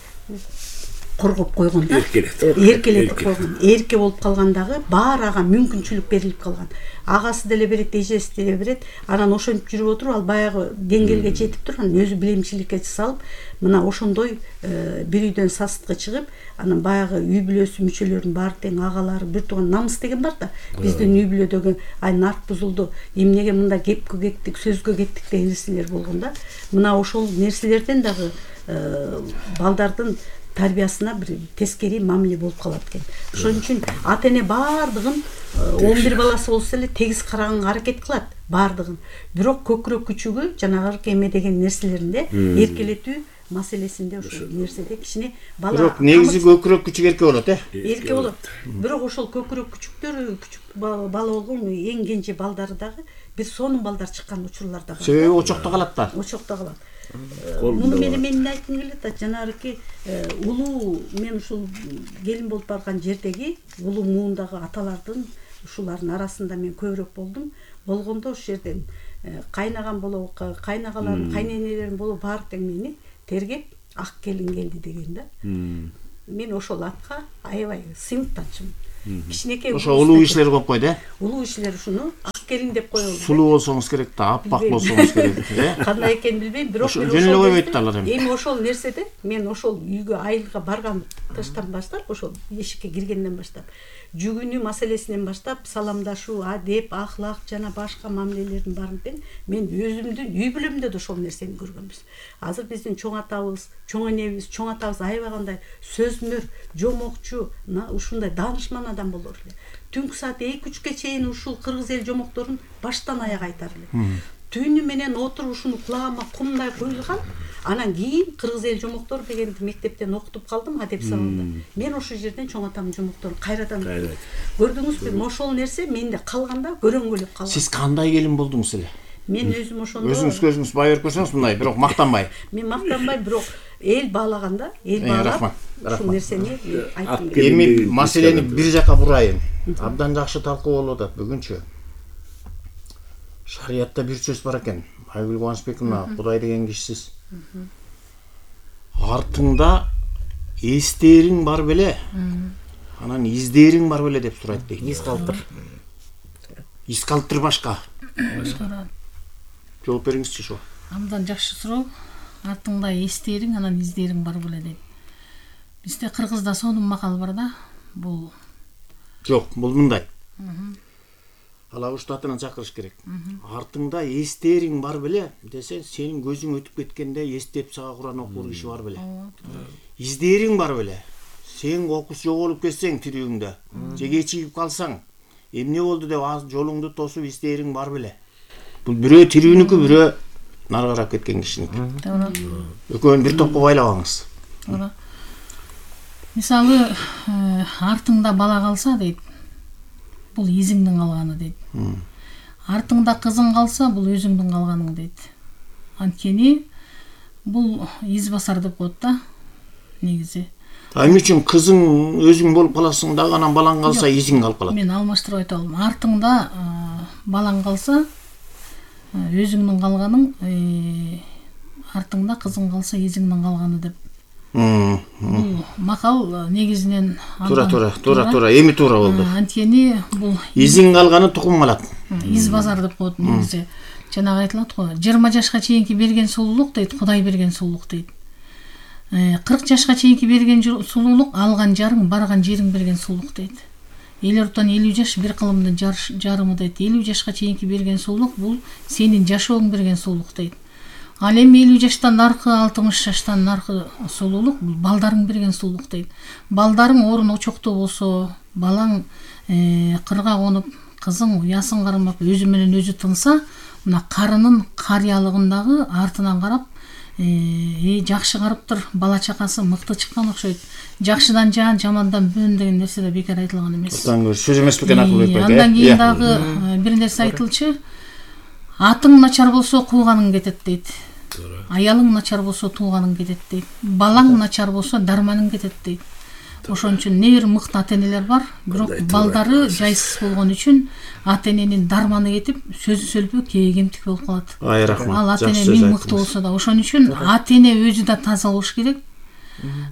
коргоп койгон да, эркелетип койгон, эрке болуп калгандагы баары ага мүмкүнчүлүк берилип калган. Агасы деле берет, эжеси деле берет. Анан ошентип жүрүп отуруп ал баягы деңгээлге жетип турган, өзү билимчиликке салып, мына ошондой бир үйдөн сасыткы чыгып, анан баягы үй бүлөсү мүчөлөрүнүн баары тең агалары, бир тууган намыс деген бар да. Биздин үй бүлөдөгү ай нарк бузулду, эмнеге мындай кепкө кеттик, сөзгө кеттик деген нерселер болгон да. Мына ошол нерселерден дагы балдардын тарбиясына бир тескери мамиле болуп калат экен. Ошон үчүн ата эне баардыгын он бир баласы болсо эле тегиз караганга аракет кылат, баардыгын. Бирок көкүрөк күчүгү жанагы эме деген нерселеринде эркелетүү маселесинде ошол нерседе кичине бала. Бирок негизи көкүрөк күчүк эрке болот, э? Эрке болот. Бирок ошол көкүрөк күчүктөр, күчүк бала болгон эң кенже балдары дагы бир сонун балдар чыккан учурлар да бар. Себеби очокто калат да. Очокто калат. муну менен мен эмне айткым келет да, жанагы улуу, мен ушул келин болуп барган жердеги улуу муундагы аталардын ушулардын арасында мен көбүрөөк болдум. Болгондо ошол жерден кайнаган болобу, кайнагаларым, кайненелерим болобу баары тең мени тергеп ак келин келди деген да. Мен ошол атка аябай сыймыктанчумун. Кичинекей ошо улуу кишилер коюп койду, э? Улуу кишилер ушуну ак келин деп коёбу. Сулуу болсоңуз керек да, аппак болсоңуз керек, э? Кандай экенин билбейм, бирок жөн эле койбойт да алар эми. Эми ошол нерседе мен ошол үйгө айылга барган таштан баштап, ошол эшикке киргенден баштап, жүгүнүү маселесинен баштап, саламдашуу, адеп, ахлак жана башка мамилелердин баарын тең мен өзүмдүн үй бүлөмдө да ошол нерсени көргөнбүз. Азыр биздин чоң атабыз, чоң энебиз, чоң атабыз аябай кандай сөзмөр, жомокчу, ушундай даанышман адам болор эле. Түнкү саат эки үчкө чейин ушул кыргыз эл жомокторун баштан аяк айтар эле. Түнү менен отуруп ушуну кулагыма кумдай куйулган. Анан кийин кыргыз эл жомоктор дегенди мектептен окутуп калдым, адеп сабагында. Мен ошол жерден чоң атамдын жомокторун кайрадан көрдүңүзбү? Ошол нерсе менде калганда көрөңгөлөп калган. Сиз кандай келин болдуңуз эле? Мен өзүм ошондо өзүңүз көзүңүз бай берип көрсөңүз мындай, бирок мактанбай. Мен мактанбай, бирок эл баалаганда, эл баалап ушул нерсени айттым. Эми маселени бир жака бурайын. Абдан жакшы талкуу болуп атат бүгүнчү. Шариятта бир сөз бар экен. Айгүл Кубанычбековна, Кудай деген кишисиз. Артыңда эстериң бар беле? Анан издериң бар беле деп сурайт дейт. Из калтыр. Из калтыр башка. Башка. Жооп бериңизчи ошо. Абдан жакшы суроо. Артыңда эстериң, анан издериң бар беле дейт. Бизде кыргызда сонун макал бар да. Бул жок, бул мындай. Ала уштатынан чакырыш керек. Артыңда эстериң бар беле десе, сенин көзүң өтүп кеткенде эстеп сага Куран окур киши бар беле. Издериң бар беле. Сен окус жоголуп кетсең тирүүңдө, же кечигип калсаң, эмне болду деп жолуңду тосуп издериң бар беле. Бул бирөө тирүүнүкү, бирөө наргарап кеткен кишиники. Экөөнү бир топко байлабаңыз. Мисалы, артыңда бала калса дейт, бул изиңдин калганы дейт. Артыңда кызың калса, бул өзүңдүн калганың дейт. Анткени бул из басар деп коет да, негизи. Эмне үчүн кызың өзүң болуп каласың дагы, анан балаң калса изиң калып калат? Мен алмаштырып айта алам. Артыңда балаң калса, өзүңдүн калганың, артыңда кызың калса изиңдин калганы деп. Бул макал негизинен туура туура туура туура эми туура болду. Анткени бул изиң калганы тукум калат. Из базар деп коет негизи. Жанагы айтылат го, жыйырма жашка чейинки берген сулуулук дейт, Кудай берген сулуулук дейт. кырк жашка чейинки берген сулуулук алган жарың, барган жериң берген сулуулук дейт. Эл ортон элүү жаш бир кылымдын жарымы дейт. элүү жашка чейинки берген сулуулук бул сенин жашооң берген сулуулук дейт. Ал эми элүү жаштан наркы, алтымыш жаштан наркы сулуулук бул балдарың берген сулуулук дейт. Балдарың орун очоктоо болсо, балаң кырга конуп, кызың уясын кармап, өзү менен өзү тынса, мына карынын карыялыгындагы артынан карап, э жакшы карыптыр, бала чакасы мыкты чыккан окшойт. Жакшыдан жан, жамандан бөн деген нерсе да бекер айтылган эмес. Сөз эмес бекен Акылбек байке. Андан кийин дагы бир нерсе айтылчу. Атың начар болсо кууганың кетет дейт. Аялың начар болсо тууганың кетет дейт. Балаң начар болсо дарманың кетет дейт. Ошон үчүн не бир мыкты ата-энелер бар, бирок балдары жайсыз болгон үчүн ата-эненин дарманы кетип, сөзү сөлбөк, кегемтик болуп калат. Ай рахмат. Ал ата-эне миң мыкты болсо да, ошон үчүн ата-эне өзү да таза болуш керек.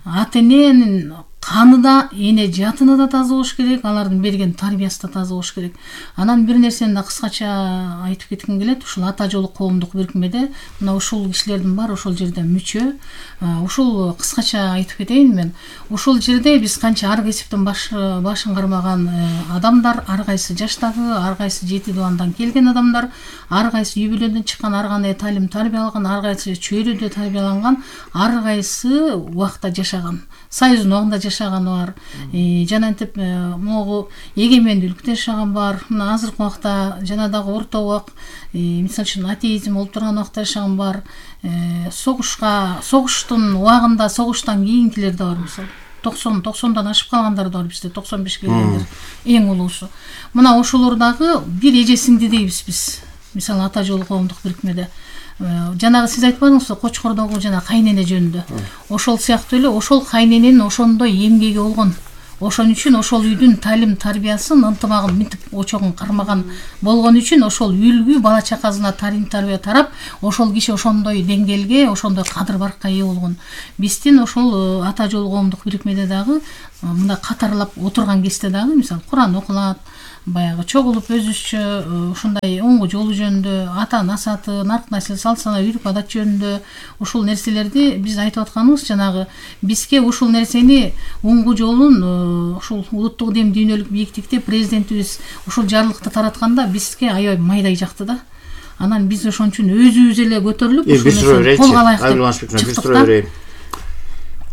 Ата-эненин каны да, эне жатыны да таза болуш керек, алардын берген тарбиясы да таза болуш керек. Анан бир нерсени да кыскача айтып кетким келет. Ушул ата жолу коомдук бирикмеде мына ушул кишилердин баары ошол жерде мүчө. Ушул кыскача айтып кетейин мен. Ушул жерде биз канча ар кесиптин башын кармаган адамдар, ар кайсы жаштагы, ар кайсы жети дубандан келген адамдар, ар кайсы үй бүлөдөн чыккан, ар кандай талим тарбия алган, ар кайсы чөйрөдө тарбияланган, ар кайсы убакта жашаган. Союздун убагында жашаганы бар. Жанантип могу эгемендүүлүктө жашаган бар. Мына азыркы убакта жана дагы орто убак, мисалы үчүн атеизм болуп турган убакта жашаган бар. Согушка, согуштун убагында, согуштан кийинкилер да бар, мисалы. токсон токсондан ашып калгандар да бар бизде, токсон беш келгендер. Эң улуусу. Мына ошолор дагы бир эже сиңди дейбиз биз. Мисалы ата жолу коомдук бирикмеде. жанагы сиз айтпадыңызбы Кочкордогу жана кайнене жөнүндө. Ошол сыяктуу эле ошол кайнененин ошондой эмгеги болгон. Ошон үчүн ошол үйдүн талим тарбиясын ынтымагын мынтип очогун кармаган болгон үчүн ошол үлгү бала чакасына талим тарбия тарап, ошол киши ошондой деңгээлге, ошондой кадыр баркка ээ болгон. Биздин ошол ата жол коомдук бирикмеде дагы мында катарлап отурган кезде дагы мисалы Куран окулат, баягы чогулуп өзүбүзчө ушундай оңгу жолу жөнүндө, ата насааты, нарк насил салт сана үрп адат жөнүндө ушул нерселерди биз айтып атканыбыз жанагы бизге ушул нерсени оңгу жолун ушул улуттук дем дүйнөлүк бийиктикте президентибиз ушул жарлыкты таратканда бизге аябай майдай жакты да. Анан биз ошон үчүн өзүбүз эле көтөрүлүп ушул нерсени колго алайык деп чыктык да.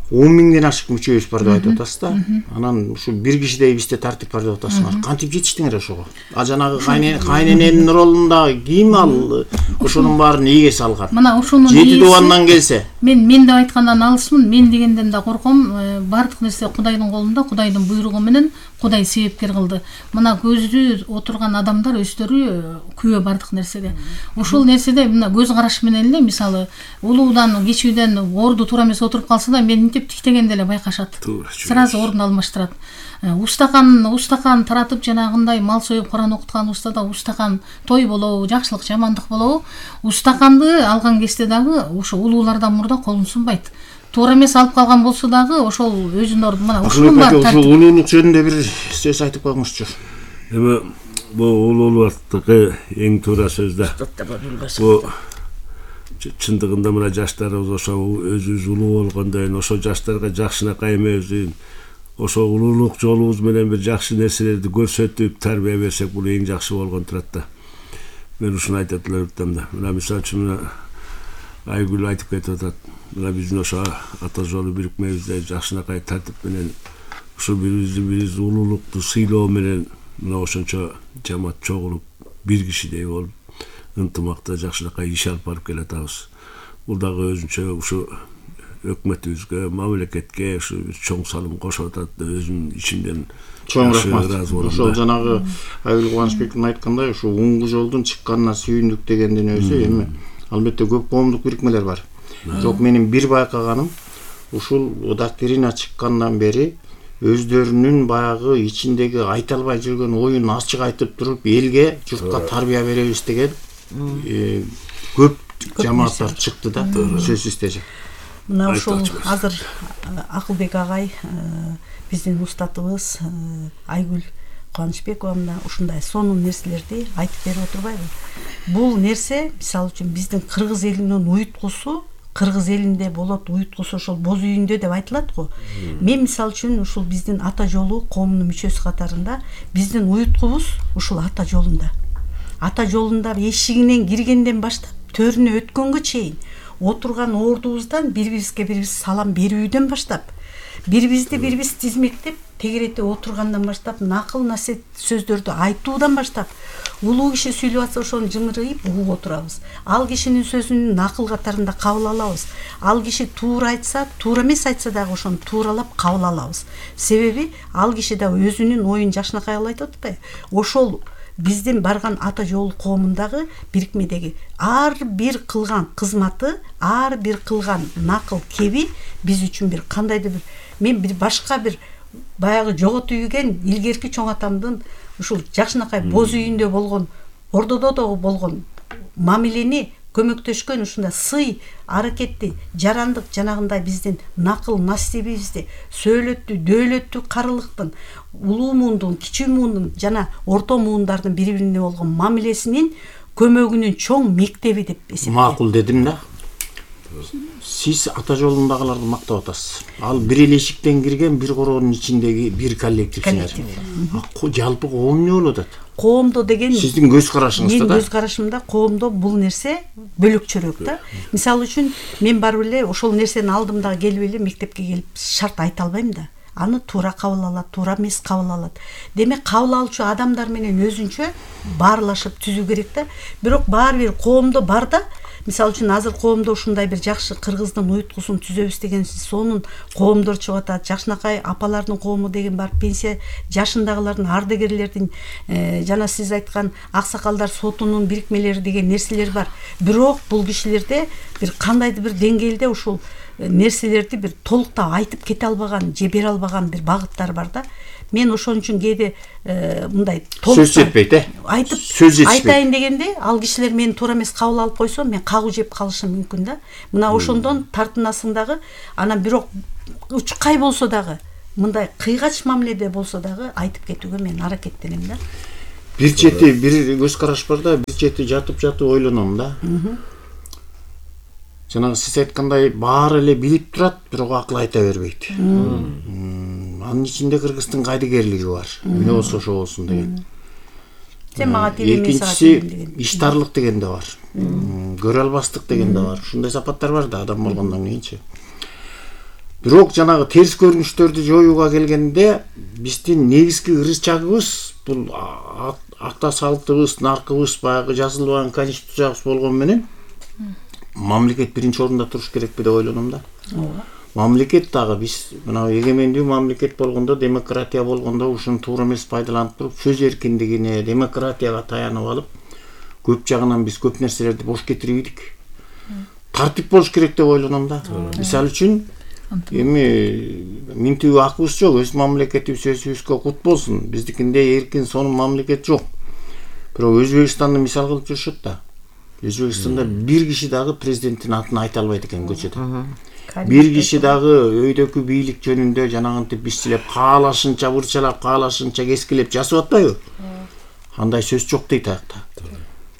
он миңден ашык мүчөбүз бар деп айтып атасыз да. Анан ушу бир кишидей бизде тартип бар деп атасыңар. Кантип жетиштиңер ошого? А жанагы кайнененин ролунда ким ал ошонун баарын ийге салган? Мына ошонун жети дубандан келсе. Мен мен деп айткандан алысмын. Мен дегенден да корком. Бардык нерсе Кудайдын колунда, Кудайдын буйругу менен Кудай себепкер кылды. Мына көзү отурган адамдар өздөрү күбө бардык нерсеге. Ошол нерседе мына көз караш менен эле мисалы улуудан, кичүүдөн орду туура эмес отуруп калса да мен мынтип тиктегенде эле байкашат. Сразу ордун алмаштырат. Устакан, устакан таратып жанагындай мал союп Куран окуткан устада устакан той болобу, жакшылык, жамандык болобу, устаканды алган кезде дагы ошо улуулардан мурда колун сунбайт. Туура эмес алып калган болсо дагы ошол өзүнүн орду мына ушунун баары тартип. Ошол улуулук жөнүндө бир сөз айтып коюңузчу. Эми бул улуулуктугу эң туура сөз да. Бул чындыгында мына жаштарыбыз ошо өзүбүз улуу болгондон ошо жаштарга жакшынакай эмебиз, ошо улуулук жолубуз менен бир жакшы нерселерди көрсөтүп тарбия берсек бул эң жакшы болгон турат да. Мен ушуну айтып элем да. Мына мисалы үчүн Айгүл айтып кетип атат. Мына биздин ошо ата жолу бирикмебизде жакшынакай тартип менен ушул бирибизди бирибиз улуулукту сыйлоо менен мына ошончо жамаат чогулуп бир кишидей болуп ынтымакта жакшынакай иш алып барып келатабыз. Бул дагы өзүнчө ушу өкмөтүбүзгө, мамлекетке ушу чоң салым кошуп атат. Өзүнүн ичимден чоң рахмат. Ошол жанагы Айгүл Кубанычбектин айткандай ушу оңгу жолдун чыкканына сүйүндүк дегендин өзү эми албетте көп коомдук бирикмелер бар. Бирок менин бир байкаганым ушул доктрина чыккандан бери өздөрүнүн баягы ичиндеги айта албай жүргөн оюн ачык айтып туруп элге, журтка тарбия беребиз деген көп жамааттар чыкты да, сөзсүз түрдө. Мына ошол азыр Акылбек агай биздин устатыбыз Айгүл Кубанычбекова мына ушундай сонун нерселерди айтып берип отурбайбы? Бул нерсе мисалы үчүн биздин кыргыз элинин уюткусу кыргыз элинде болот, уюткусу ошол боз үйүндө деп айтылат го. Мен мисалы үчүн ушул биздин ата жолу коомунун мүчөсү катарында биздин уюткубуз ушул ата жолунда. Ата жолунда эшигинен киргенден баштап төрүнө өткөнгө чейин отурган ордубуздан бири-бирибизге бирибиз салам берүүдөн баштап, бири-бирибизди бирибиз тизмектеп, тегеретип отургандан баштап, накыл насиет сөздөрдү айтуудан баштап, улуу киши сүйлөп атса ошону жымырайып угуп отурабыз. Ал кишинин сөзүн накыл катарында кабыл алабыз. Ал киши туура айтса, туура эмес айтса дагы ошону тууралап кабыл алабыз. Себеби ал киши да өзүнүн оюн жакшынакай айтып атпайбы? Ошол биздин барган ата жол коомундагы бирикмедеги ар бир кылган кызматы, ар бир кылган накыл кеби биз үчүн бир кандайдыр бир мен бир башка бир баягы жоготуп үйгөн илгерки чоң атамдын ушул жакшынакай боз үйүндө болгон, ордодо дагы болгон мамилени көмөктөшкөн ушундай сый аракетти, жарандык жанагындай биздин накыл насибибизди, сөөлөттү, дөөлөттү карылыктын, улуу муундун, кичүү муундун жана орто муундардын бири-бирине болгон мамилесинин көмөгүнүн чоң мектеби деп эсептейм. Макул дедим да. Сиз ата жолундагыларды мактап атасыз. Ал бир эле эшиктен кирген бир короонун ичиндеги бир коллективсиңер. Жалпы коом эмне болуп атат? Коомдо деген сиздин көз карашыңызда да. Мен көз карашымда коомдо бул нерсе бөлөкчөрөөк да. Мисалы үчүн мен барып эле ошол нерсени алдым дагы келип эле мектепке келип шарт айта албайм да. Аны туура кабыл алат, туура эмес кабыл алат. Демек кабыл алуучу адамдар менен өзүнчө баарлашып түзүү керек да. Бирок баары бир коомдо бар да мисалы үчүн азыр коомдо ушундай бир жакшы кыргыздын уюткусун түзөбүз деген сонун коомдор чыгып атат. Жакшынакай апалардын коому деген бар, пенсия жашындагылардын, ардагерлердин жана сиз айткан аксакалдар сотунун бирикмелери деген нерселер бар. Бирок бул кишилерде бир кандайдыр бир деңгээлде ушул нерселерди бир толуктап айтып кете албаган же бере албаган бир багыттар бар да. Мен ошон үчүн кээде мындай сөз жетпейт, э? Айтып сөз жетпейт. Айтайын дегенде, ал кишилер мени туура эмес кабыл алып койсо, мен кагуу жеп калышым мүмкүн да. Мына ошондон тартынасың дагы, анан бирок учкай болсо дагы, мындай кыйгач мамиледе болсо дагы айтып кетүүгө мен аракеттенем да. Бир чети бир көз караш бар да, бир чети жатып жатып ойлоном да. Жанагы сиз айткандай баары эле билип турат, бирок акыл айта бербейт. Анын ичинде Кыргыздын кайдыгерлиги бар. Эмне болсо ошо болсун деген. Сен мага тиги экинчиси иштарлык деген да бар. Көрө албастык деген да бар. Ушундай сапаттар бар да адам болгондон кийинчи. Бирок жанагы терс көрүнүштөрдү жоюуга келгенде биздин негизги ырычагыбыз бул акта салтыбыз, наркыбыз, баягы жазылбаган конституциябыз болгон менен мамлекет биринчи орунда туруш керекпи деп ойлоном да. Мамлекет дагы биз мына эгемендүү мамлекет болгондо, демократия болгондо ушуну туура эмес пайдаланып туруп, сөз эркиндигине, демократияга таянып алып, көп жагынан биз көп нерселерди бош кетирбейдик. Тартип болуш керек деп ойлоном да. Мисалы үчүн эми минтүү акыбыз жок, өз мамлекетибиз өзүбүзгө кут болсун. Биздикинде эркин сонун мамлекет жок. Бирок Өзбекстанды мисал кылып жүрүшөт да. Өзбекстанда бир киши дагы президенттин атын айта албайт экен көчөдө. Бир киши дагы өйдөкү бийлик жөнүндө жанагынтип бишчилеп, каалашынча бурчалап, каалашынча кескилеп жасап атпайбы? Андай сөз жок дейт аякта.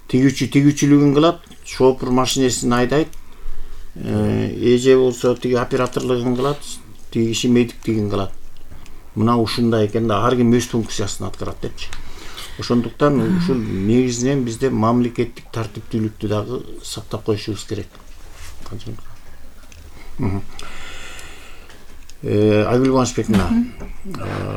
Тигүүчү тигүүчүлүгүн кылат, шопур машинесин айдайт. Эже болсо тиги операторлугун кылат, тиги киши медиктигин кылат. Мына ушундай экен да, ар ким өз функциясын аткарат депчи. Ошондуктан ушул негизинен бизде мамлекеттик тартиптүүлүктү дагы сактап коюшубуз керек. Айгүл Кубанычбековна,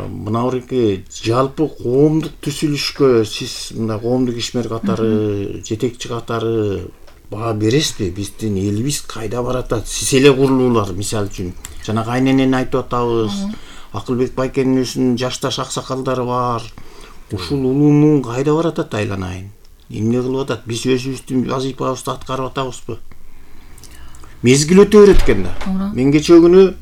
мына буреки жалпы коомдук түзүлүшкө сиз мындай коомдук ишмер катары, жетекчи катары баа бересизби? Биздин элибиз кайда баратат? Сиз эле курулуулар, мисалы үчүн, жана кайненени айтып атабыз, Акылбек байкенин өзүнүн жашташ аксакалдары бар. Ушул улуумун кайда баратат айланайын? Эмне кылып атат? Биз өзүбүздүн вазыйфабызды аткарып атабызбы? Мезгил өтө берет экен да. Мен кечээ күнү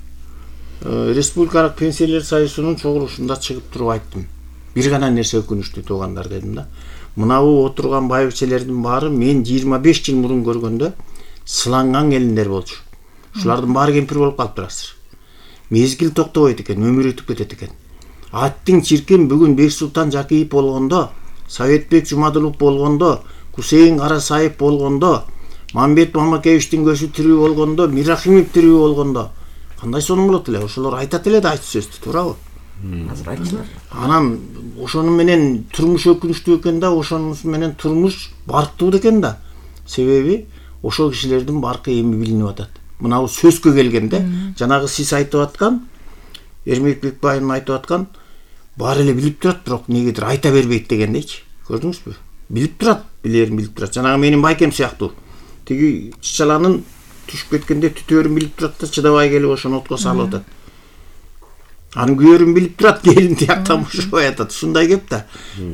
Республикалык пенсиялер союзунун чогулушунда чыгып туруп айттым. Бир гана нерсе өкүнүчтүү туугандар дедим да. Мынабу отурган байбичелердин баары мен жыйырма беш жыл мурун көргөндө сыланган келиндер болчу. Ушулардын баары кемпир болуп калыптыр азыр. Мезгил токтобойт экен, өмүр өтүп кетет экен. Аттың чиркин бүгүн Бексултан Жакиев болгондо, Советбек Жумадылов болгондо, Кусейин Карасаев болгондо, Мамбет Мамакеевичтин көзү тирүү болгондо, Мирахимов тирүү болгондо кандай сонун болот эле? Ошолор айтат эле да айтып сөздү, туурабы? Азыр айтчылар. Анан ошону менен турмуш өкүнүчтүү экен да, ошонун менен турмуш барктуу экен да. Себеби ошол кишилердин баркы эми билинип атат. Мына бул сөзгө келгенде, жанагы сиз айтып аткан, Эрмек Бекбайым айтып аткан, баары эле билип турат, бирок негедир айта бербейт дегендейчи. Көрдүңүзбү? Билип турат, билерин билип турат. Жанагы менин байкем сыяктуу. Тиги чычаланын түшүп кеткенде түтөөрүн билип турат да, чыдабай келип ошону отко салып атат. Анын күйөрүн билип турат, келин тияктан бошобой атат. Ушундай кеп да.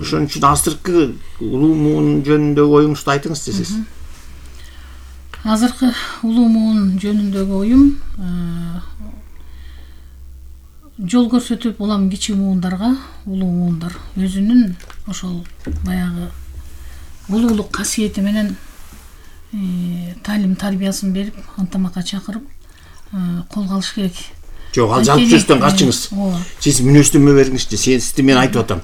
Ошон үчүн азыркы улуумун жөнүндөгү оюңузду айтыңыз десиз. Азыркы улуумун жөнүндөгү оюм жол көрсөтүп улам кичи муундарга, улуу муундар өзүнүн ошол баягы улуулук касиети менен талим тарбиясын берип, антамакка чакырып колго алыш керек. Жок, ал жалпы сөздөн качыңыз. Сиз мүнөздөмө бериңизчи. Сизди мен айтып атам.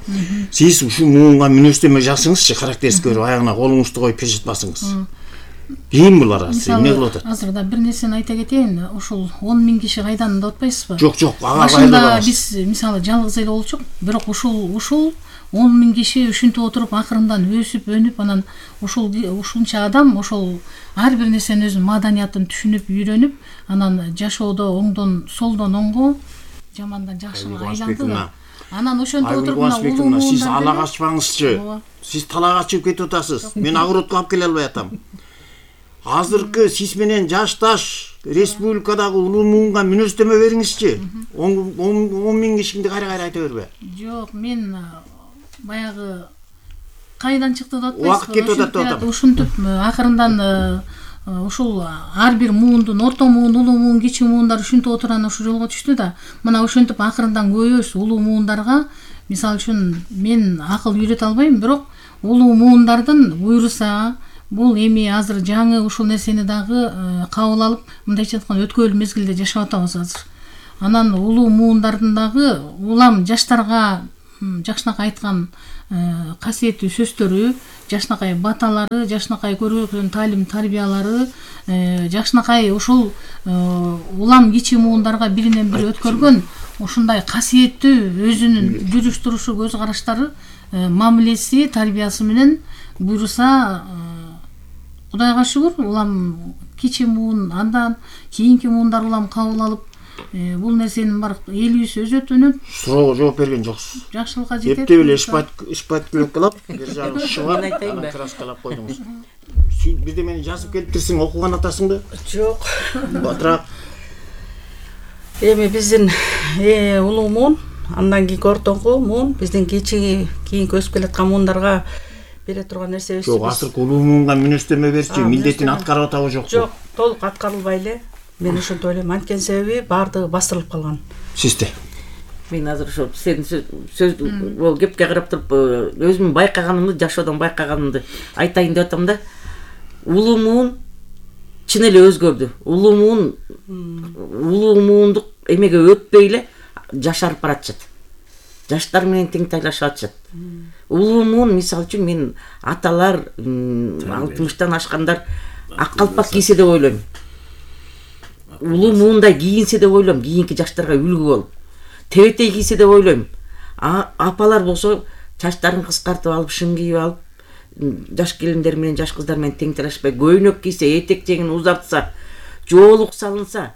Сиз ушул муунга мүнөздөмө жазыңызчы, характерист көрүп, аягына колуңузду коюп пешатпасыңыз. Кийин булар азыр эмне кылып атат? Азыр да бир нерсени айта кетейин. Ошол он миң киши кайдан деп атпайсызбы? Жок, жок, ага башында биз мисалы жалгыз эле болчук, бирок ушул ушул он миң киши ушинтип отуруп акырындан өсүп, өнүп, анан ушул ушунча адам ошол ар бир нерсенин өзүнүн маданиятын түшүнүп, үйрөнүп, анан жашоодо оңдон солдон оңго, жамандан жакшыга айланды да. Анан ошентип отуруп мына улуу сиз ала качпаңызчы. Сиз талак ачып кетип атасыз. Мен огородко алып келе албай атам. азыркы сиз менен жашташ республикадагы улуу муунга мүнөздөмө бериңизчи. он миң кишиңди кайра кайра айта бербе. Жок, мен баягы кайдан чыкты деп атпайсызбы? Убакыт кетип атат деп атам. Ушинтип акырындан ушул ар бир муундун, орто муун, улуу муун, кичи муундар ушинтип отурган ушу жолго түштү да. Мына ушинтип акырындан көбөйөбүз улуу муундарга. Мисалы үчүн мен акыл үйрөтө албайм, бирок улуу муундардын буйруса, бул эми азыр жаңы ушул нерсени дагы кабыл алып, мындайча айтканда өткөөлүү мезгилде жашап атабыз азыр. Анан улуу муундардын дагы улам жаштарга жакшынакай айткан касиеттүү сөздөрү, жакшынакай баталары, жакшынакай көргөн таалим тарбиялары, жакшынакай ушул улам кичи муундарга биринен бири өткөргөн ушундай касиеттүү өзүнүн жүрүш турушу, көз караштары, мамилеси, тарбиясы менен буйруса, Кудайга шүгүр, улам кичи муун, андан кийинки муундар улам кабыл алып, бул нерсенин бар элибиз өзөтүнүп, суроого жооп берген жоксуз. Жакшылыкка жетет. Эптеп эле ишпат кылып, бир жагы шыбан айтайын ба? Краскалап койдуңуз. Бирде мени жазып келиптирсиң, окуган атасыңбы? Жок. Батыраак. Эми биздин улуу муун, андан кийинки ортоңку муун, биздин кичи кийинки өсүп келаткан муундарга бере турган нерсебиз. Жок, азыркы улуу муунга мүнөздөмө берчи, милдетин аткарып атабы жокпу? Жок, толук аткарылбай эле. Мен ошентип ойлойм, анткени себеби баардыгы бастырылып калган. Сизде? Мен азыр ошо сенин сөз кепке карап туруп өзүмдүн байкаганымды, жашоодон байкаганымды айтайын деп атам да. Улуу муун чын эле өзгөрдү. Улуу муун улуу муундук эмеге өтпөй эле жашарып баратышат. Жаштар менен тең тайлашып атышат. Улуу муун, мисалы үчүн, мен аталар алтымыштан ашкандар ак калпак кийсе деп ойлойм. Улуу муундай кийинсе деп ойлойм, кийинки жаштарга үлгү болуп. Тебетей кийсе деп ойлойм. Апалар болсо чачтарын кыскартып алып, шың кийип алып, жаш келиндер менен жаш кыздар менен тең талашпай, көйнөк кийсе, этек жеңин узартса, жоолук салынса,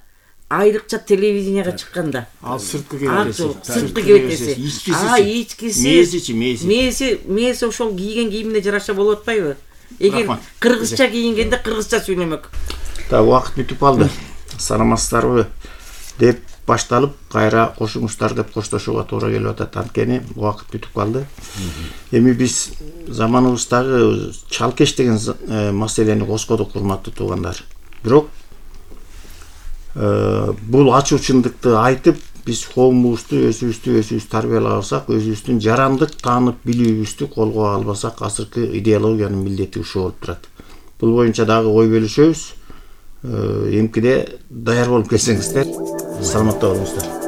айрыкча телевиденияга чыкканда. Ал сырткы кебетеси. Сырткы кебетеси. А, ичкиси. Мээсичи, мээси. Мээси, мээси ошол кийген кийимине жараша болуп атпайбы? Эгер кыргызча кийингенде кыргызча сүйлөмөк. Да, убакыт бүтүп калды. Саламатсыздарбы деп башталып, кайра кошуңуздар деп коштошууга туура келип атат. Анткени убакыт бүтүп калды. Эми биз заманыбыздагы чалкеш деген маселени коскодук, урматтуу туугандар. Бирок бул ачуучундукты айтып, биз коомубузду, өзүбүздү өзүбүз тарбиялай алсак, өзүбүздүн жарандык таанып билүүбүздү колго албасак, азыркы идеологиянын милдети ушул болуп турат. Бул боюнча дагы ой бөлүшөбүз. Эмкиде даяр болуп келсеңиздер, саламатта болуңуздар.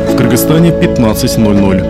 В Кыргызстане пятнадцать ноль ноль.